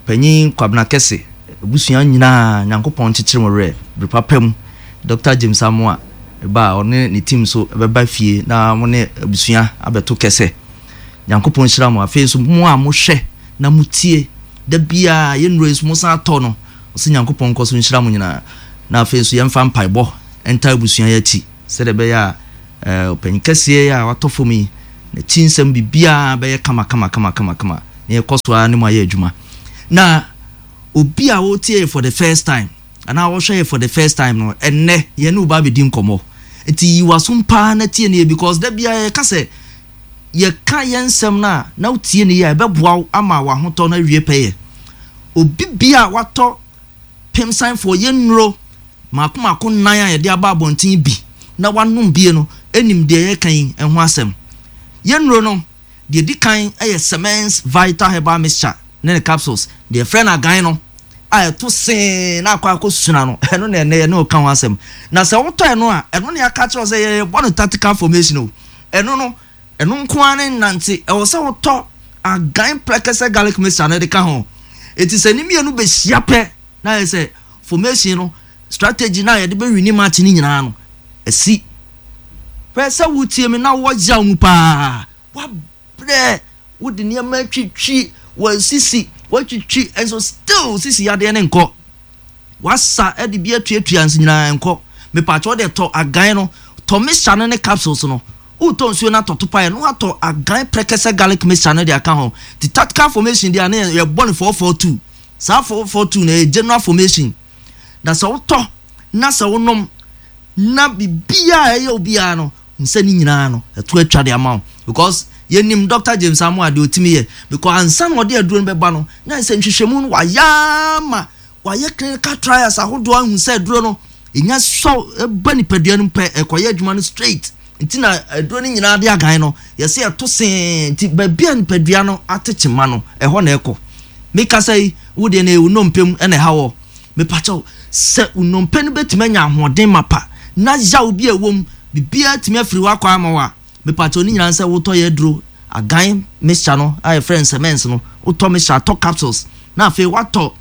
Panyin Kwabena Kɛse abusua nyinaa, Nyankopɔn nkyekyere mo werɛ. Bere papa mu, Dr James Amoa ba a ɔne ne team so bɛba fie na mo ne abusua abɛto kɛsɛ. Nyankopɔn nhyira mo. Afei nso mo a mohwɛ na motie da biara yɛnnuro yi nso mo san atɔ no, ɔsɛ Nyankopɔn nkɔ so nhyira mo nyinaa. Na afei nso yɛmfa mpaebɔ nta abusua yi akyi sɛdeɛ ɛbɛyɛ a Ɔpanyin kɛseɛ yi a watɔ fam yi, n'akyi nsɛm biribiara bɛyɛ kama kama kama kama kama na yɛkɔ so ara ne mu ayɛ adwuma. Na obi a ɔretie yɛ for the first time anaa ɔhwɛ yɛ for the first time no, ɛnnɛ yɛne wo ba abɛdi nkɔmmɔ. Nti yi w'asom paa na tie no yie because da biara yɛka sɛ yɛka yɛn nsɛm no a na wotie no yie a ɛbɛboa wo ama w'ahotɔ no awie pɛyɛ. Obi bia a watɔ Pemsanfoɔ, yɛn nnuro mmaako mmaako nnan a yɛde aba abɔnten bi na wanom bie no nim deɛ yɛreka yi ho asɛm. Yɛn nnuro no, deɛ ɛdi kan yɛ Semens Vital Herbal Mixture ne ne capsules, deɛ yɛfrɛ no agan no a ɛto see na akɔ akɔsuna no, ɛno na ɛnnɛ yɛne wo ka ho asɛm. Na sɛ wotɔ ɛno a, ɛno na yɛaka akyerɛ wo sɛ yɛrebɔ no tactical formation o. Ɛno no, ɛno nko ara ne nnante, ɛwɔ sɛ wotɔ agan prɛkɛsɛ garlic mixture no de ka ho. Enti sɛ ne mmienu bɛhyia pɛ na ayɛ sɛ formation no, strategy no a yɛde bɛwini match no nyinaa no, asi. Hwɛ sɛ wotie me na wowɔ yaw mu paa, woabrɛ, wode nneɛma atwitwi w'asisi, woatwitwi nso still sisi yadeɛ no nkɔ. Wasa de bi atuatua nso nyinaa nkɔ. Mepaakyɛw wo deɛ tɔ agan no, tɔ mixture no ne capsules no. Wotɔ nsuo no atɔ topaeɛ na watɔ agan prɛkɛsɛ garlic mixture no de aka ho. Nti tactical formation deɛ a na yɛbɔ no 442. Saa 442 no ɛyɛ general formation. Na sɛ wotɔ na sɛ wonom na biribiara a ɛyɛ wo biara no, hu sɛ ne nyinaa no ɛto atwa de ama wo. Because yɛnim Doctor James Amoah deɛ ɔtumi yɛ. Because ansa na ɔde aduro no bɛba no, na ɛsɛ nhwehwɛmu no wayɛ ama Wɔayɛ clinical trials ahodoɔ ahu sɛ aduro no ɛnya sɔ ba nipadua no mu pɛ ɛkɔyɛ adwuma no straight. Nti na aduro no nyinaa de agan no yɛsɛ ɛto see nti baabi a nipadua no ate kyema no ɛhɔ na ɛkɔ. Mekasa yi wo deɛ no ɛyɛ wo nnompe mu na ɛha wɔ. Mepakyɛw sɛ wo nnompe no bɛtumi anya ahoɔden mapa na yaw bi a ɛwɔ mu biribiara atumi afiri hɔ akɔ ama wo a, Mepakyɛw ne nyinaa ne sɛ wotɔ yɛ aduro agan mixture no a yɛfrɛ no cements no, wotɔ mixture atɔ capsules na afei woatɔ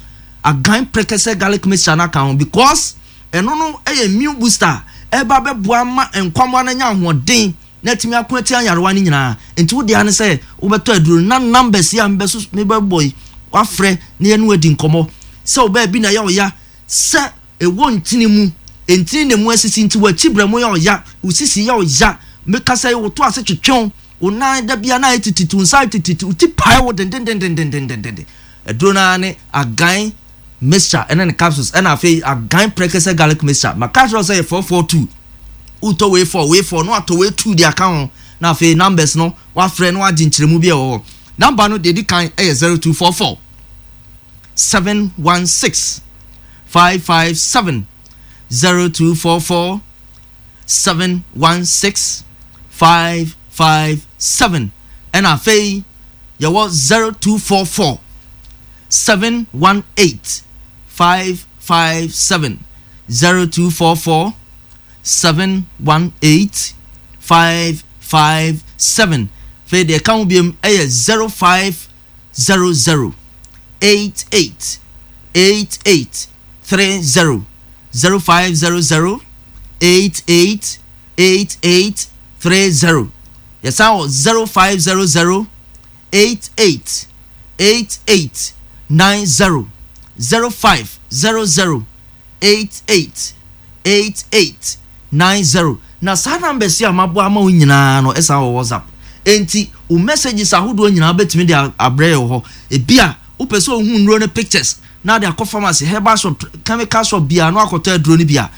agan prɛkɛsɛ garlic mixture no aka ho because ɛno no yɛ immune booster a ɛba bɛboa ma nkwammoa no anya ahoɔden na atumi ako atia nyarewa no nyinaa. Nti wo dea ne sɛ wobɛtɔ aduro no na numbers yi a mebɛso mebɛbɔ yi wafrɛ na yɛne wo adi nkɔmmɔ sɛ wo baabi na ɛyɛ wo ya sɛ Ɛwɔ ntini mu. Ntini na emu asisi nti w'akyi brɛmo yɛ ɔya, wo sisi yɛ ɔya, mekasa yi wo to ase twetwe wo, wo nan da biara na ayɛ tititi, wo nsa ayɛ tititi, wo ti pae wo dendendendendendenden. Aduro no ara ne Agan mixture ɛne ne capsules ɛna afei Agan prɛkɛsɛ garlic mixture. Maka akyerɛ wo sɛ yɛ 442. Wotɔ wei 4, wei 4 na watɔ wei 2 de aka ho na afei numbers no wafrɛ na wagye nkyerɛmu bi a ɛwɔ hɔ. Number no deɛ ɛdi kan yɛ 0244 716 557 0244 716 557 ɛna afei yɛwɔ 0244 718 557 0244 718 557 afei deɛ ɛka ho biom ɛyɛ 05 00 88 88 30 0500 88 88 30 Yɛsan wɔ 0500 88 88 90 0500 88 88 90 Na saa numbers yi a mabɔ ama wo nyinaa no ɛsan wɔ WhatsApp. Enti wo messages ahodoɔ nyinaa wobɛtumi de abrɛ yɛ wɔ hɔ. Ebia wopɛ sɛ wohu nnuro no pictures na de akɔ pharmacy, herbal shop, chemical shop biara na wakɔtɔ aduro no bi a,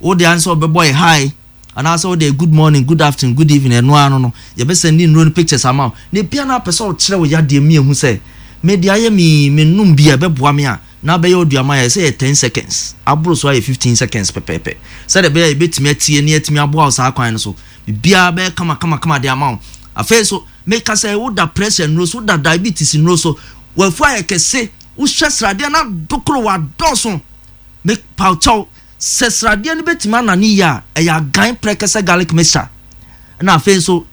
wo deɛ ara ne sɛ wobɛbɔ yɛ hi anaasɛ wode good morning, good afternoon, good evening ɛno ara no no yɛbɛsɛnde nnuro no pictures ama wo. Na ebia na wopɛ sɛ wokyerɛ wo yadeɛ mu yɛhu sɛ me deɛ ayɛ me yi menom bi a ɛbɛboa me a na abɛyɛ oduama a ɛsɛ yɛ ten seconds, aboro so ayɛ 15 seconds pɛpɛɛpɛ, sɛdeɛ ɛbɛyɛ a yɛbɛtumi atie na yɛatumi aboa wo saa kwan no so. Biribiara bɛyɛ kamakamakama de ama wo. Afei nso, meka sɛ woda pressure nnuro so, woda diabetes nnuro so, w'afu ayɛ kɛse, wohwɛ sradeɛ no adokoro, wadɔɔso. Mepaw kyɛw, sɛ sradeɛ no bɛtumi anane yie a, ɛyɛ agan prɛkɛsɛ garlic mixture. Ɛna afei nso,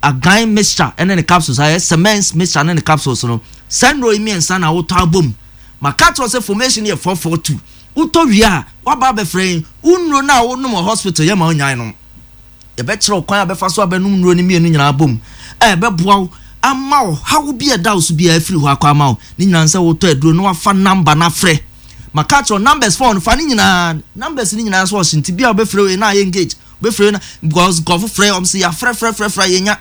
agan mixture ne ne capsules, ayɛ cements mixture ne ne capsules no, saa nnuro yi mmiɛnsa na wotɔ abom. Maka akyerɛ wo sɛ formation yɛ 442. Wotɔ wie a, woaba abɛfrɛ yɛn. Wo nnuro no a wonom wɔ hospital yɛmma wonyae nom. Yɛbɛkyerɛ wo kwan a wobɛfa so abɛnom nnuro no mmienu nyinaa abom a ɛbɛboa wo ama ɔhaw bi a ɛda wo so biara afiri hɔ akɔ ama wo. Ne nyinaa ne sɛ wotɔ aduro na wafa number no afrɛ. Maka akyerɛ wo numbers phone no fa ne nyinaa. Numbers no nyinaa nso ɔhye nti bi a wobɛfrɛ wei na ayɛ engage. Wobɛfrɛ wei na because nkurɔfo frɛ wɔn sɛ yɛafrɛfrɛfrɛfrɛ yɛnya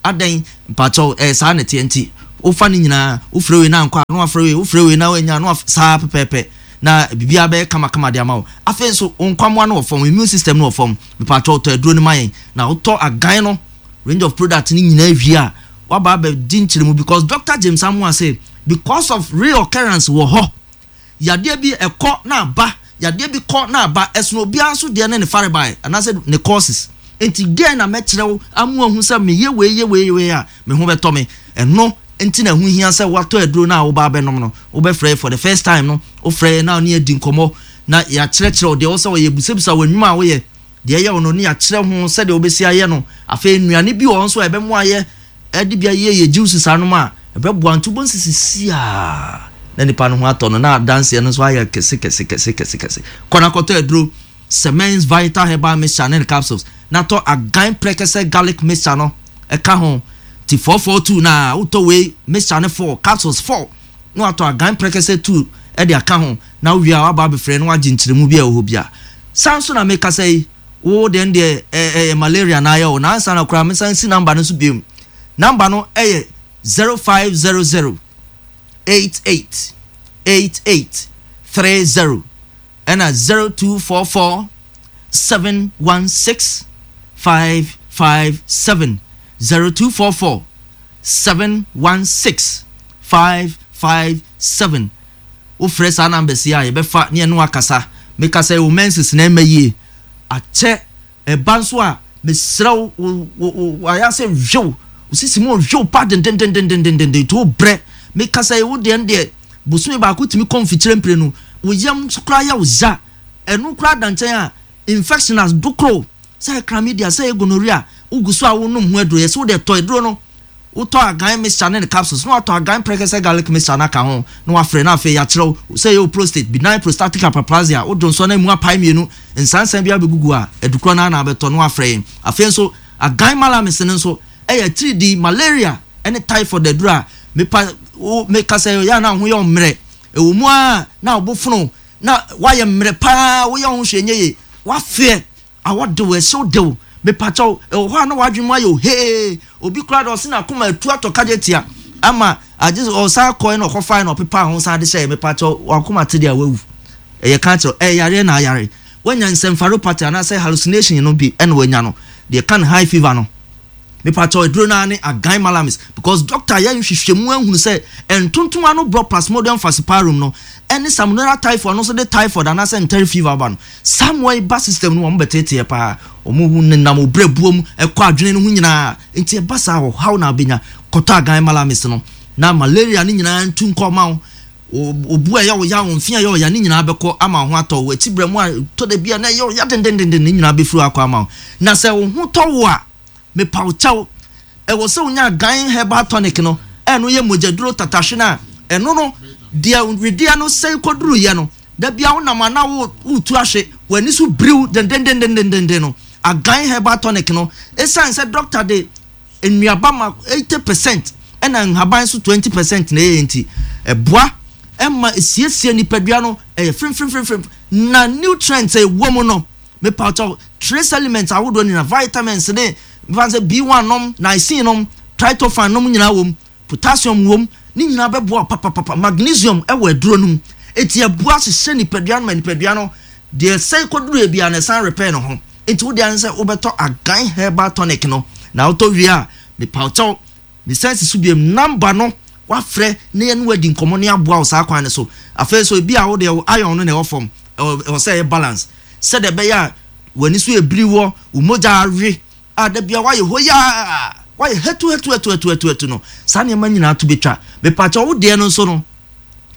adɛn mpakyɛw ɛyɛ saa na ɛteɛ nti wofa ne nyinaa wofrɛ wei na ankɔ a na wafrɛ wei wofrɛ wei na wanya na saa pɛpɛɛpɛ na biribiara bɛyɛ kamakama de ama wo. Afei nso wo nkwammoa no wɔ fam, immune system no wɔ fam. Mepakyɛw tɔ aduro no ma yɛn na wotɔ agan no range of product no nyinaa wie a waba abɛgye nkyerɛmu because Doctor James Amoah se because of reoccurrence wɔ hɔ. Yadeɛ bi ɛkɔ na aba, yadeɛ bi kɔ na aba, ɛsono obiara nso deɛ ne ne farebae anaasɛ ne courses. Enti deɛn na mɛkyerɛ wo ama woahu sɛ meyɛ wei yɛ wei yɛ wei a me ho bɛtɔ me? Ɛno nti na ɛho hia sɛ woatɔ aduro no a woba abɛnom no. Wobɛfrɛ yɛn for the first time no, wofrɛ yɛn na wo ne yɛn adi nkɔmmɔ na yɛakyerɛkyerɛ wo deɛ ɛwɔ sɛ woyɛ, yɛbisabisa wo nnwuma a woyɛ, deɛ ɛyɛ wo no ne yɛakyerɛ ho sɛdeɛ wobɛsi ayɛ no. Afei nnuane bi wɔ hɔ nso a ɛbɛmoa yɛ Ɛde bia yie yɛ juice saa nom a ɛbɛboa nti wobɛhu sɛ sisi a na nipa no ho atɔ no na adanseɛ no nso ayɛ kɛse kɛse kɛse kɛse kɛse. Kɔ na kɔtɔ aduro Semens Vital Herbal Mixture ne ne capsules na tɔ Agan Prɛkɛsɛ Garlic Mixture no ɛka ho ti 442 na wotɔ wei mixture no 4 capsules 4 na watɔ Agan Prɛkɛsɛ 2 ɛde aka ho na wowie a waba abɛfrɛ na wagye nkyerɛmu bi a ɛwɔ hɔ bia. Saa nso na mekasa yi Wo deɛ no deɛ ɛyɛ malaria na ayɛ wo na ansa na koraa mesan si number no so biom. Number no ɛyɛ 0500 88 88 30 ɛna 0244 716 557 0244 716 557. Wofrɛ saa numbers yi a yɛbɛfa ne yɛne wo akasa. Meka sɛ wo menses na ɛmma yie akyɛ ɛba nso a mesrɛ wo wo wo wo ayɛ asɛ hwew wo sisi mu hwew pa dendendendendenden nti wo brɛ. Meka sɛ wo deɛ no deɛ bosome baako tumi kɔ mfikyire mprenu wo yam nso koraa yɛ wo ya ɛno koraa da nkyɛn a infection as dokoro sɛ chlamydia sɛ gonorrhea wogu so a wonom ho aduro yɛsɛ wo deɛ tɔ aduro no. Wotɔ agan mixture ne ne capsules na watɔ agan prɛkɛsɛ garlic mixture no aka ho na wafrɛ na afei yɛakyerɛ wo sɛ ɛyɛ wo prostate, benign prostatic hyperplasia, wo dwonsɔ no emu apae mmienu, nsansan biara bɛgugu a, adukorɔ no ara na abɛtɔ na wafrɛ yɛn. Afei nso, agan malamis no nso yɛ atiridii, malaria ne typhoid aduro a mepa wo meka sɛ ɛyɛ a na wo ho yɛ wo mmerɛ, ɛwɔ mu ara na wo bo fono na woayɛ mmerɛ pa ara, woyɛ wo ho hwee nyɛ yie, woafeɛ. Awɔ de wo, ɛhyew de wo. Mepakyɛw, ɛwɔ hɔ a na w'adwene mu ayɛ wo hee. Obi koraa de ɔse n'akoma atu atɔ kagyetia ama agye sɛ ɔsan kɔe na ɔkɔfae na ɔpepaa ho san de hyɛe. Mepakyɛw, w'akoma te deɛ a wawu. Ɛyɛ ka kyerɛ wo, ɛyɛ yareɛ na ayare. Wanya encephalopathy anaasɛ hallucination no bi na wanya no. Deɛ ɛka no high fever no. Mepakyɛw aduro no ara ne agan malamis because doctor ayɛ nhwehwɛmu ahunu sɛ ntontom ano borɔ plasmodium falciparum no ɛne salmonella typhoid no nso de typhoid anaasɛ enteric fever ba no. Saa mmoa yi ba system no mu a wɔn bɛteeteɛ paa, wɔn nenam wo brɛboɔ mu ɛkɔ adwene no ho nyinaa nti ɛba saa ɔhaw na abɛnya. Kɔtɔ agan malamis no na malaria no nyinaa ntu nkɔ ma wo. Obu a ɛyɛ wo ya, wo mfe a ɛyɛ wo ya ne nyinaa bɛkɔ ama wo ho atɔ wo. Akyi brɛ mu a tɔ da bi a na ɛyɛ wo ya dendendenden ne nyinaa bɛfiri hɔ akɔ ama wo. Na sɛ wo ho tɔ wo a, Mepa wo kyɛw, ɛwɔ sɛ wonya Gan herbal tonic no, ɛno yɛ mogyaduro tatahwe no a, ɛno no, deɛ wedeɛ no sɛe kɔduruiɛ no, da biara wonam a na woretu ahwe, w'ani so biriw dendendendendenden no, Agan herbal tonic no, ɛsiane sɛ dɔkta de nnuaba ma 80 percent ɛna nhaban nso 20 percent na ɛyɛ nti, ɛboa ɛma ɛsiesie nipadua no, ɛyɛ fremfremfremfrem, na nutrients a ɛwɔ mu no, Mepawkyɛw, trace elements ahodoɔ nyinaa, vitamins ne mefa no sɛ B1 nom, niacin nom, tryptophan nom nyinaa wɔ mu, potassium wɔ mu, ne nyinaa bɛboa wo papapapa. Magnesium wɔ aduro no mu, enti ɛboa hyehyɛ nipadua no ma nipadua no deɛ ɛsɛe kɔduruiɛ biara no ɛsan repair ne ho. Enti wo deɛ ara ne sɛ wobɛtɔ Agan Herbal Tonic no, na wotɔ wie a, mepawkyɛw, Mesan si so bio, number no wafrɛ na yɛne wo adi nkɔmmɔ na yɛaboa wo saa kwan no so. Afei nso ebia wo deɛ wo iron no na ɛwɔ fam, ɛwɔ sɛ ɛyɛ balance sɛdeɛ ɛbɛyɛ a w'ani so ebiri wɔ, wo mogya awe a da biara woayɛ hoyaa, woayɛ hatu hatu hatu hatu hatu hatu no, saa nneɛma nyinaa to bɛtwa. Mepakyɛw wo deɛ no nso no,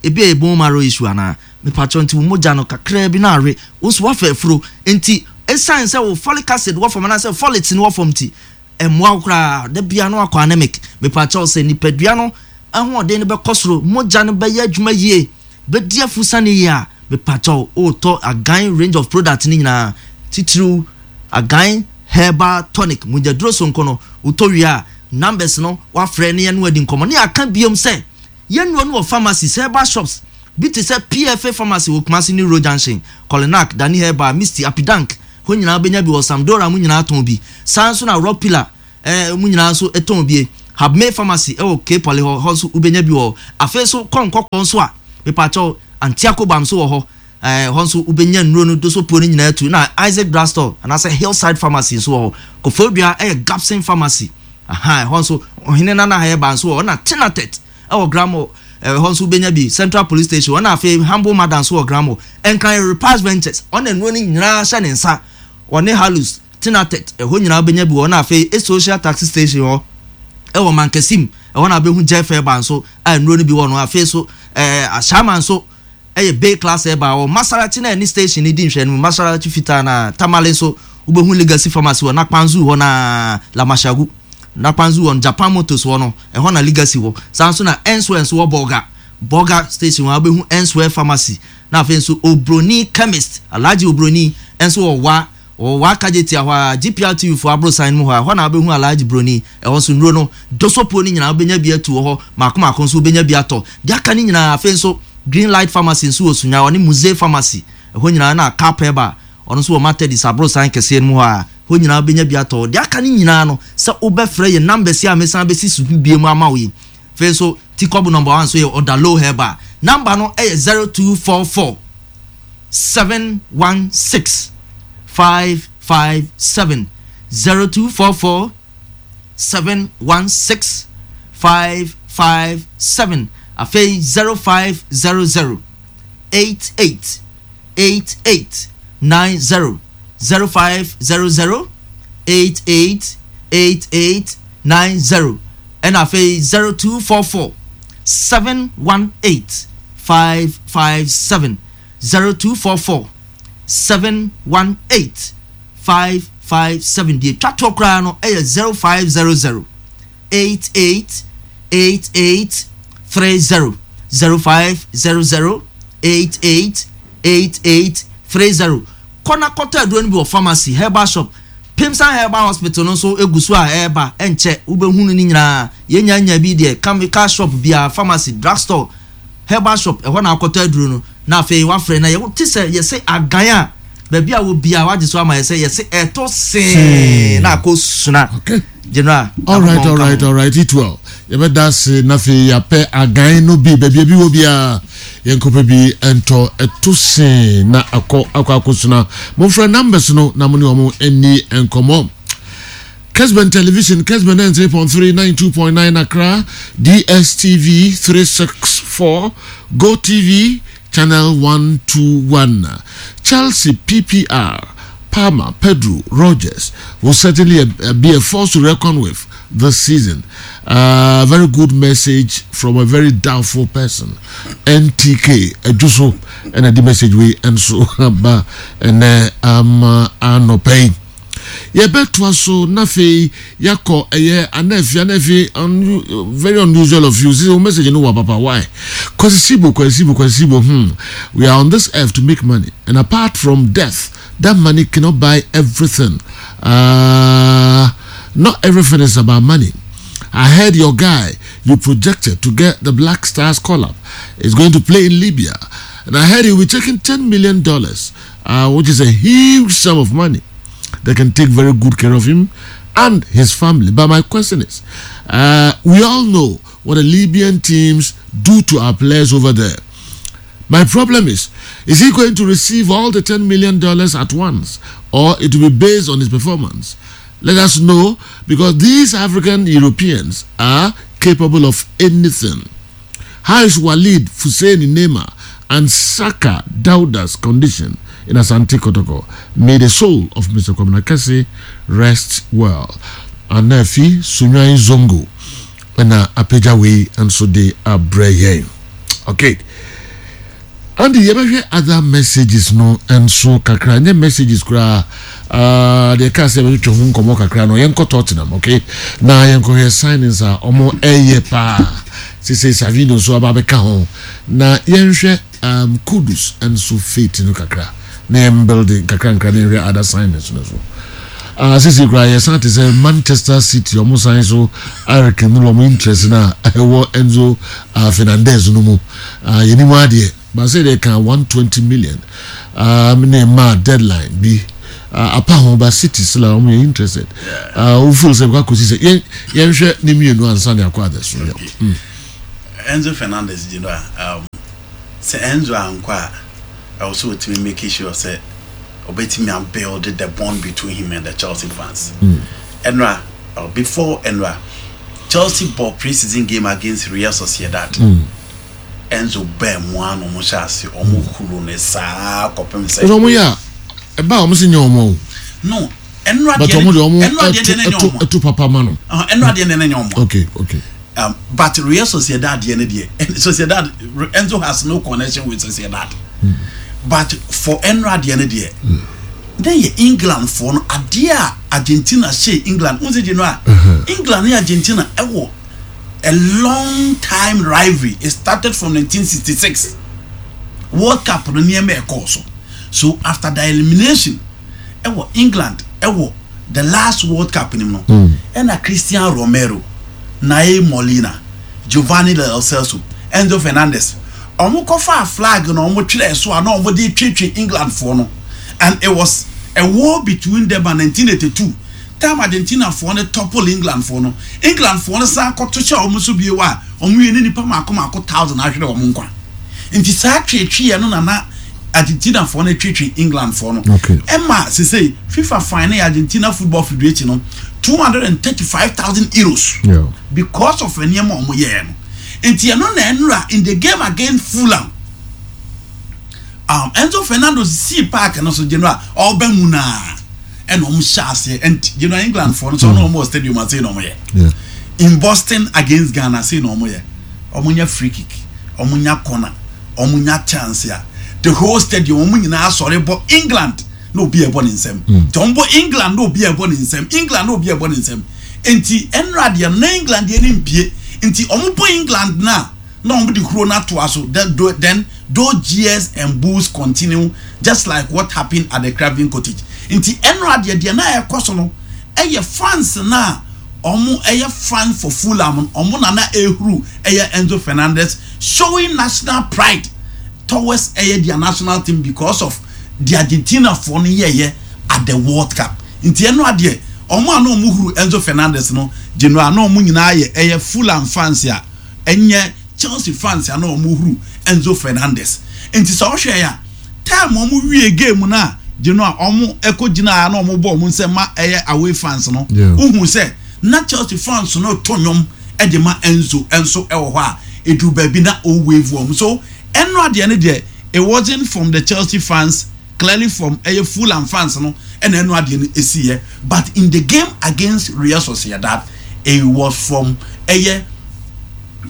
ebi a ɛyɛ bone marrow issue anaa? Mepakyɛw nti wo mogya no kakraa bi na awe, wo nso woafa afuro nti ɛsiane sɛ wo folic acid wɔ fam anaasɛ folates no wɔ fam nti, Ɛmmoa wo koraa, da biara na woakɔ anemic. Mepakyɛw, sɛ nipadua no ahoɔden no bɛkɔ soro, mogya no bɛyɛ adwuma yie, bɛdi afusane yie a, mepakyɛw, wotɔ Agan range of product no nyinaa, titiriw Agan Herbal Tonic, mogyaduro sononko no, wotɔ wie a, numbers no woafrɛ na yɛne wo adi nkɔmmɔ. Ne yɛaka biom sɛ, yɛn nnuro no wɔ pharmacies, herbal shops bi te sɛ PFA Pharmacy wɔ Kumasi New Road Junction, Kolinak, Dani Herbal, Misty, Apidank. Hɔ nyinaa wobɛnya bi wɔ Samdora mu nyinaa tɔn bi. Saa nso na Rock Pillar eh, mu nyinaa nso tɔn bie. Habmay Pharmacy wɔ K-Poly hɔ, hɔ nso wobɛnya bi wɔ hɔ. Afei nso kɔ Nkɔkɔɔ nso a, mepakyɛw, Antiako Balm nso wɔ hɔ. Eh, hɔ nso wobɛnya nnuro no dosopuo no nyinaa tu. Na Isaac Drugstore anaasɛ Hillside Pharmacy nso wɔ hɔ. Koforidua yɛ Gapson Pharmacy. Aha, ɛhɔ nso Ɔhene Nana Herbal nso wɔ hɔ. Na Tinatet wɔ Gramo, ɛhɔ nso wobɛnya bi. Central Police Station, ɛna afei Humble Mother nso wɔ Gramo. Nkran yɛ Repast Ventures, ɔna nnuro no nyinaa hyɛ ne nsa. Ɔne Halus, Tinatet, ɛhɔ nyinaa wobɛnya bi wɔ hɔ. Na afei Social Taxi Station hɔ ɛwɔ Mankasim, ɛhɔ na wobɛhu Jeff Herbal nso a nnuro no bi wɔ no. Afei nso ɛɛ Ashaiman nso ɛyɛ Bay Class Herbal wɔ Masarachi na ɛne station no di nhwɛanim, Masarachi fitaa no ara. Tamale nso wobɛhu Legacy Pharmacy wɔ Nakpanzu hɔ no ara, Lamashagu. Nakpanzu hɔ no, Japan Motors hɔ no, ɛhɔ na Legacy wɔ. Saa nso na Enswell nso wɔ Bolga, Bolga station hɔ a wobɛhu Enswell Pharmacy. Na afei nso Obroni Chemist, Alhaji Obroni nso wɔ Wa, wɔ Wa Kajetia hɔ ara, GPRTU foɔ aborosan no mu hɔ ara, ɛhɔ na wobɛhu Alhaji Broni. Ɛhɔ nso nnuro no, dosopuo no nyinaa wobɛnya bi atu wɔ hɔ, mmaako mmaako nso wobɛnya bi atɔ. Deɛ aka no nyinaa, afei nso Green Light Pharmacy nso wɔ Sunya, ɔne Muzee Pharmacy, ɛhɔ nyinaa, ɛna Cap Herbal, ɔno nso wɔ Matadis aborosan kɛseɛ no mu hɔ ara, hɔ nyinaa wobɛnya bi atɔ. Deɛ aka no nyinaa no, sɛ wobɛfrɛ yɛn numbers yi a mesan bɛsi so bio ama wo yi. Afei nso, Tikɔbo number one nso yɛ Odalo Herbal. Number no yɛ 0244 716 557, 0244 716 557, afei 0500 88 88 90, 0500 88 88 90, ɛna afei 0244 718 557, 0244 718 557. Deɛ ɛtwa toɔ koraa no yɛ 0500 88 88 30, 0500 88 88 30. Kɔ na kɔtɔ aduro no bi wɔ pharmacy, herbal shop, Pimsan Herbal Hospital no nso egu so a ɛreba, ɛnkyɛ wobɛhunu ne nyinaa. Yɛnya nya bi deɛ, chemical shop biara, pharmacy, drug store, herbal shop, ɛhɔ na akɔtɔ aduro no. Na afei wafrɛ na yɛte sɛ yɛse agan a baabi a wɔ biara wagye so ama yɛ sɛ yɛse ɛto see na akɔ suna. Okay. General. All right, all right, all right. It well. Yɛbɛda ase na afei yɛapɛ agan no bi baabi bi wɔ biara yɛnkɔpɛ bi ntɔ ɛto see na akɔ akɔ akɔsuna. Momfrɛ numbers no na mo ne wɔn nni nkɔmmɔ. Kesben Television, Kesben 93.3, 92.9 Accra, DSTV 364, Go TV, Channel 121. Chelsea PPR, Palmer, Pedro, Rogers will certainly be a force to reckon with this season. Very good message from a very doubtful person. NTK, Ejuso, and the message we and so ba and anɔpa yi. Yɛbɛtoa so na afei yɛakɔ ɛyɛ Anafi Anafi un, very unusual of you. Sisi wo message no wa papa why? Kwasi Sibo Kwasi Sibo Kwasi Sibo hmm. We are on this earth to make money and apart from death that money cannot buy everything. Not everything is about money. I heard your guy you projected to get the Black Stars call up is going to play in Libya. And I heard he'll be taking $10 million, which is a huge sum of money. They can take very good care of him and his family. But my question is, we all know what the Libyan teams do to our players over there. My problem is he going to receive all the $10 million at once, or it will be based on his performance? Let us know, because these African Europeans are capable of anything. How is Walid Fuseni Nema and Saka Dauda's condition in Asante Kotoko? May the soul of Mr. Kwamina Kese rest well. Anafi Sunyai Zongo na apagya wei nso de abrɛ yɛn. Okay. Andy, yɛbɛhwɛ other messages no nso kakra. Nyɛ messages koraa. Deɛ kaa sɛ yɛbɛtwetwe ho nkɔmmɔ kakra no, yɛnkɔ Tottenham, okay? Na yɛnkɔhwɛ signings a ɔmo ɛyɛ paa. Sese Savino nso aba abɛka ho. Na yɛnhwɛ Kudus nso fate no kakra. Na yɛn building kakra nkra na yɛnhwɛ other signings no so. Sese koraa yɛsan te sɛ Manchester City ɔmo san so arekindle ɔmo interest na ɛwɔ Enzo Fernandez no mu. Yɛnim adeɛ. But sɛ deɛ ka 120 million ne ma deadline bi. Apa ho ba City still a wɔn yɛ interested. Wo feel sɛ bɛkɔ akɔsi sɛ yɛn yɛnhwɛ ne mmienu ansa ne akɔ others so. Okay. Enzo Fernandez gye no a um, sɛ Enzo ankɔ a ɛwɔ sɛ ɔtumi make sure sɛ ɔbɛtumi abuild the bond between him and the Chelsea fans. Ɛnora mm. Before ɛnora Chelsea bɔ pre-season game against Real Sociedad. Mm. Enzo baa mu ara na wɔn hyɛ ase wɔn huro no saa kɔpem sɛ. Ɛna wɔn yɛ a ɛba a wɔn si nyɛ wɔn o. No ɛnura deɛ deɛ ɛnura deɛ deɛ ne nyɛ wɔn. Ɛto papa ma no. Ɛnura deɛ deɛ ne nyɛ wɔn. Okay okay. But Real Sociedad deɛ ne deɛ Sociedad Enzo has no connection with Sociedad. But for ɛnura deɛ ne deɛ. Ne yɛ England foɔ no adeɛ a Argentina hyɛ England n sɛ gye no a England ne Argentina ɛwɔ. A long time rivalry. It started from 1966 World Cup no nneɛma ɛkɔɔ so. So after the elimination ɛwɔ England ɛwɔ the last World Cup nim no ɛna Christian Romero, Nae Molina, Giovanni Lo Celso, Enzo Fernandez wɔn kɔfaa flag na wɔn twerɛɛ so a na wɔn de twetwe England foɔ no and it was a war between them and 1982 Time Argentina foɔ no topple England foɔ no, England foɔ no san kɔto hyɛ wɔn so bio a wɔn wie ne nipa mako mako thousand ahwere wɔn nkwa. Nti saa tweetweeɛ no na na Argentina foɔ no tweetwee England foɔ no. Okay. Ɛma sesei FIFA fine ne Argentina Football Federation no 235,000 euros yeah. because of nneɛma wɔn yɛɛ no. Nti ɛno na ɛnura in the game against Fulham. Um, Enzo Fernando sii park no so general ɔba mu naa ɛna wɔn hyɛ aseɛ and general England foɔ no sɛ ɔno wɔn wɔ stadium ase na wɔn yɛ in Boston against Ghana ase na wɔn yɛ wɔn nya free kick wɔn nya corner wɔn nya chance a the whole stadium wɔn nyinaa asɔre bɔ England na obi ɛbɔ ne nsam nti wɔn bɔ England na obi ɛbɔ ne nsam England na obi ɛbɔ ne nsam nti ɛnura deɛ na England deɛ ne mpie nti wɔn bɔ England na. Na wɔn de kuro no atoa so then those jeers and boos continue just like what happened at the Craven Cottage. Nti ɛnora deɛ deɛ na ɛkɔ so no ɛyɛ fans no a wɔn ɛyɛ fan for Fulham no wɔn na na ɛhuru ɛyɛ Enzo Fernandez showing national pride towards ɛyɛ their national team because of the Argentina foɔ no yɛɛyɛ at the World Cup. Nti ɛnora deɛ wɔn a na wɔn huru Enzo Fernandez no general na wɔn nyinaa yɛ ɛyɛ Fulham fans a Ɛnyɛ Chelsea fans a na wɔn huru Enzo Fernandez nti sɛ ɔhwɛ yɛ a time wɔn wie game no a Genoa wɔn ɛkɔ gyina a na wɔn bɔ wɔn nsam ma ɛyɛ away fans no wohu sɛ na Chelsea fans no to nnwom ɛde ma Enzo nso ɛwɔ hɔ a eduru baabi na o wave wɔn so ɛno adeɛ no deɛ it wasn't from the Chelsea fans clearly from ɛyɛ Fulham fans no ɛna ɛno adeɛ no esi yɛ but in the game against Real Sociedad it was from ɛyɛ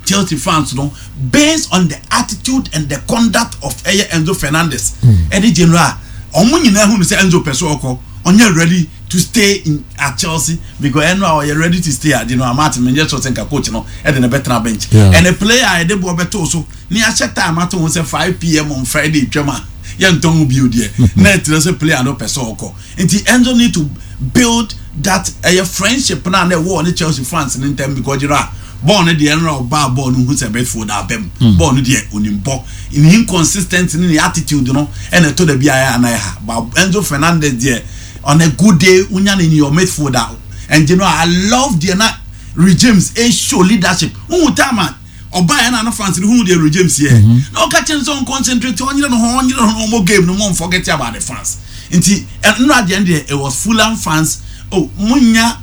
Chelsea fans no based on the attitude and the conduct of ɛyɛ Enzo Fernandez ɛne general wɔn nyinaa hu no sɛ Enzo pɛ so ɔkɔ ɔnyɛ ready to stay in at Chelsea because ɛno a ɔyɛ ready to stay at general Martin menyɛ sure sɛ nka coach no ɛde ne bɛtena bench and a player a yɛde boɔ bɛtoo so ne ahyɛ time ato ho sɛ 5pm on Friday twam a yɛntɔn ho bio deɛ na ɛkyerɛ sɛ player no pɛ sɛ ɔkɔ nti Enzo need to build that ɛyɛ friendship na na ɛwɔ ne Chelsea fans ne ntɛm because gyina bɔɔl no deɛ ɛnra ɔbaa bɔɔl no hu sɛ Bedford abɛm bɔɔl no deɛ onim bɔ ne inconsistent ne ne attitude no ɛna ɛtɔ da bi a ɛyɛ anan ha but Enzo Fernandez deɛ on a good day wonya no in your midfield a and you know I love deɛ na Reece James show leadership wohu time a ɔbaeɛ na no fans no hu deɛ Reece James yɛ na ɔka kyerɛ no sɛ ɔnconcentrate ɔnyere ne ho ɔnyere ne ho ɔmmɔ game no mo forget about the fans nti ɛnora deɛ deɛ it was Fulham fans oh munya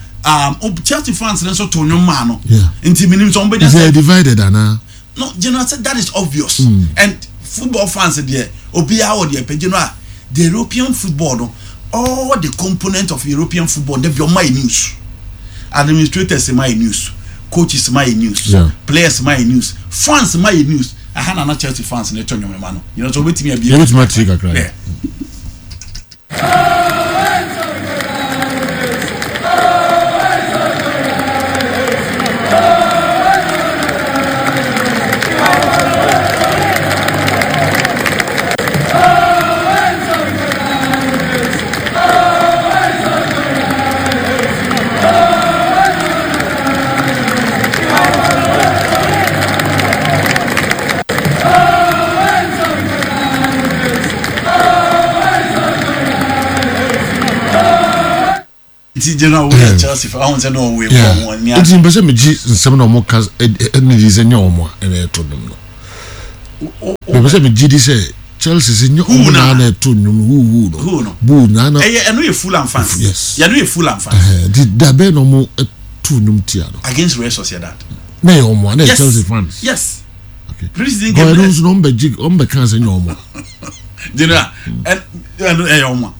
Chelsea fans no nso to nnwom maa no nti menim sɛ ɔmbɛnya sɛ divided anaa no general said that is obvious and football fans deɛ obiara wɔ deɛ pɛ general the European football no all the components of European football they be ɔma yɛ news administrators ma yɛ news coaches ma yɛ news Yeah. players ma yɛ news fans ma yɛ news aha na na Chelsea fans ne to nnwom ma no you know so obetumi abie yɛbɛtumi atie kakra Yeah. Nti general wo yɛ Chelsea fa ɔhun sɛ na ɔwɔ ewu ɔmo ani. Nti mpɛ sɛ megye nsɛm na ɔmo ka ɛne di sɛ nyɛ ɔmo a ɛna ɛto nnwom no. Mepɛ sɛ megye di sɛ Chelsea sɛ nyɛ ɔmo na ɛto nnwom huhu no buu na na. Ɛyɛ ɛno yɛ Fulham fans. Yes. Yɛno yɛ Fulham fans. Nti dabɛn na ɔmo ɛto nnwom tia no? Against Real Sociedad. Na yɛ ɔmo a na yɛ Chelsea fans. Yes. Okay. Pre-season game. Ɛno nso na ɔmo bɛ gye, ɔmo bɛ kan sɛ nyɛ ɔmo a. General, ɛno ɛyɛ ɔmo a.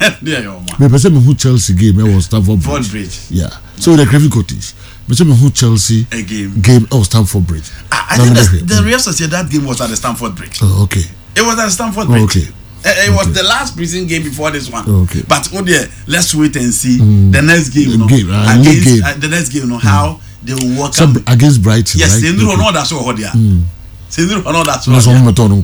Ɛno ɛyɛ ɔmo a. Mepɛ sɛ mehu Chelsea game ɛwɔ Stamford Bridge. Bridge. Yeah. So the Craven Cottage. Mepɛ sɛ mehu Chelsea a game. Game ɛwɔ Stamford Bridge. I think the Real Sociedad game was at the Stamford Bridge. Oh, okay. It was at the Stamford Bridge. Oh, okay. It was the last preseason game before this one. Oh, okay. But oh dear, let's wait and see the next game. No, game, against, game. The next game, no, how they will work. Some, against Brighton. Yes, right? They know no that's what they are. They know no that's what. No, some of them don't.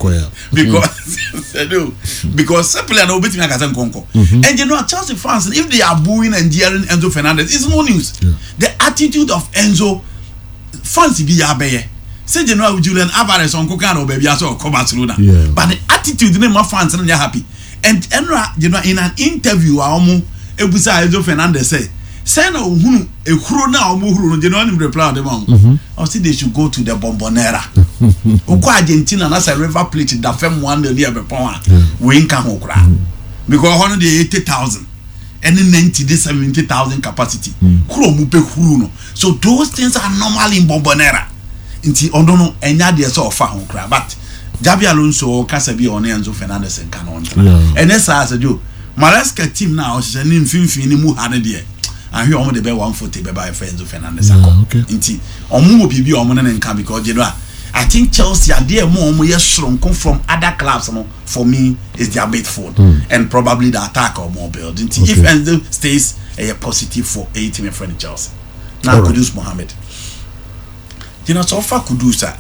Because simply I know bit me akasa nkonko. And you know Chelsea fans, if they are booing and jeering Enzo Fernandez, it's no news. The attitude of Enzo fans bi ya beye. Say you know Julian Alvarez on koka no baby aso ko Barcelona. But the attitude ne ma fans no happy. And Enra, in an interview a omo ebusa Enzo Fernandez say sɛ na ohunu ehuro na ɔmo huro no, gyina ɔnim reply ɔde ma ɔmo. Ɔsi they should go to the Bombonera. Okɔ Argentina na sɛ River Plate da fam 1-0 ne ɛbɛpɔn a, wei nka ho koraa. Because hɔ no deɛ 80,000 ɛne 90 de 70,000 capacity. Kuro ɔmo bɛ huru no. So those things are normal in Bombonera. Nti ɔno no ɛnya deɛ sɛ ɔfa ho koraa, but Xabi Alonso ɔkasa bi a ɔne Enzo Fernandez nka no ɔntena. Ɛnɛ saa sɛ jo Maresca team na ɔhyehyɛ ne mfimfini ne mu ha ne deɛ ahwɛ ɔmo de bɛ 140 bɛba ɛfɛ Enzo Fernandez akɔ. Nti ɔmo wɔ biribi a ɔmo ne ne nka because you know I think Chelsea adeɛ mu ɔmo yɛ soronko from other clubs no, for me, is their midfield and probably the attack ɔmo build. Nti if Enzo stays, ɛyɛ positive for ɛyɛ team ɛfrɛ no Chelsea. Na Kudus Mohammed gyina sɛ ɔfa Kudus a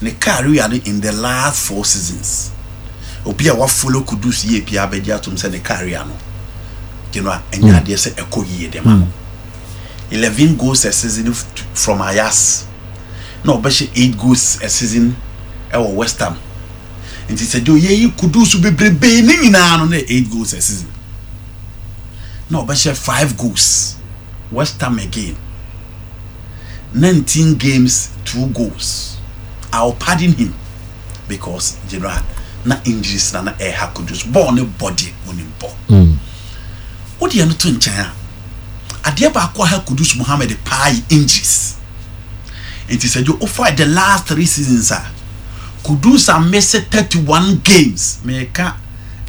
ne career no in the last four seasons, obi a wafollow Kudus yie pia abɛgye atom sɛ ne career no gyina ɛnyɛ adeɛ sɛ ɛkɔ yie de ma no. 11 goals a season from Ajax, na ɔbɛhyɛ 8 goals a season ɛwɔ West Ham. Nti sɛ de oyɛyi Kudus bebrebe ne nyinaa no na 8 goals a season, na ɔbɛhyɛ 5 goals West Ham again, 19 games, 2 goals. I will pardon him because general na injuries na ɛha Kudus bɔɔl ne bɔdi onim bɔ. O deɛ no to nkyɛn a, adeɛ baako a ha Kudus Mohammed paa yi injuries. Nti sɛ jo ofa the last three seasons a, Kudus a miss 31 games. Mɛka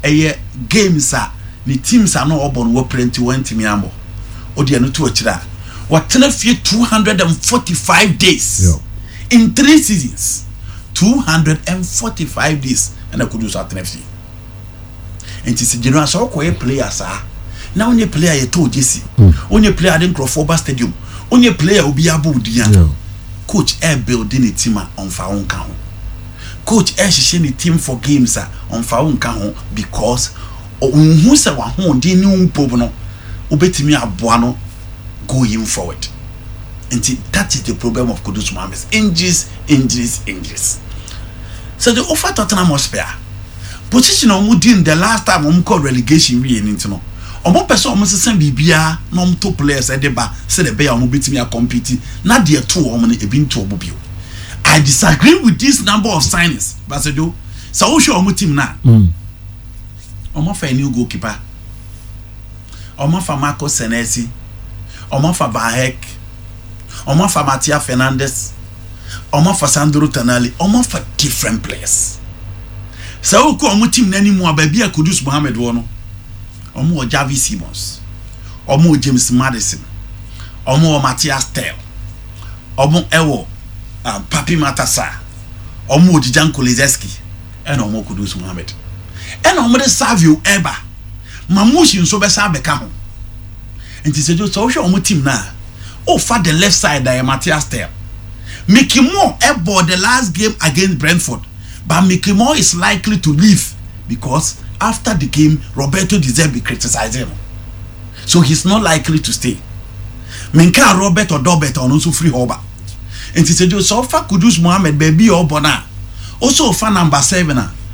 ɛyɛ games a ne teams a na ɔbɔ no wɔpere nti wɔntumi ambɔ. O deɛ no to akyire a, wɔtena fie 245 days in three seasons, 245 days ɛna Kudus atena fie. Nti sɛ general sɛ ɔkɔyɛ player saa na wonyɛ player yɛtɔ jersey, wonyɛ player de nkurɔfoɔ ba stadium, wonyɛ player obi abɔ odin a, coach ɛ build ne team a, ɔmfa wo nka ho. Coach ɛ hyehyɛ ne team for games a, ɔmfa wo nka ho because ɔnhu sɛ wahoɔden ne wo mpo no wobɛtumi aboa no going forward. Nti that is the problem of Kudus Mohammed: injuries, injuries, injuries. So the offer Tottenham Hotspur position a wɔn di in the last time wɔn kɔ relegation wie ne ti no, wɔn pɛ sɛ wɔn sesa biribiara na wɔn to players ɛde ba sɛdeɛ ɛbɛyɛ a wɔn bɛtumi acompete na deɛ to wɔn no ebi nto wɔn bio. I disagree with this number of signings, basejo sɛ wohwɛ wɔn team na wɔn afa a new goalkeeper, wɔn afa Marco Senesi, wɔn afa Van Hecke, wɔn afa Matia Fernandez, wɔn afa Sandro Tonali, wɔn afa different players. Sɛ wokɔ wɔn team n'anim a, baabi a Kudus Mohammed wɔ no, wɔn wɔ Xavi Simons, wɔn wɔ James Maddison, wɔn wɔ Matthias Tel, wɔn wɔ Pape Matar Sarr, wɔn wɔ Dejan Kulusevski, ɛna wɔn wɔ Kudus Mohammed, ɛna wɔn de Savio ɛba, Marmoush nso bɛsa abɛka ho. Nti sɛ wohwɛ wɔn team na ofa the left side a, yɛ Matthias Tel. Mickey Moore ɛbɔ the last game against Brentford, but Mickey Moore is likely to leave because after the game Roberto De Zerbi criticized him, so he's not likely to stay. Minka Robert Odobert, ɔno nso firi hɔ ba. Nti sɛ ɔfa Kudus Mohammed baabi a ɔbɔ no a, ɔsɛ ɔfa number 7 a.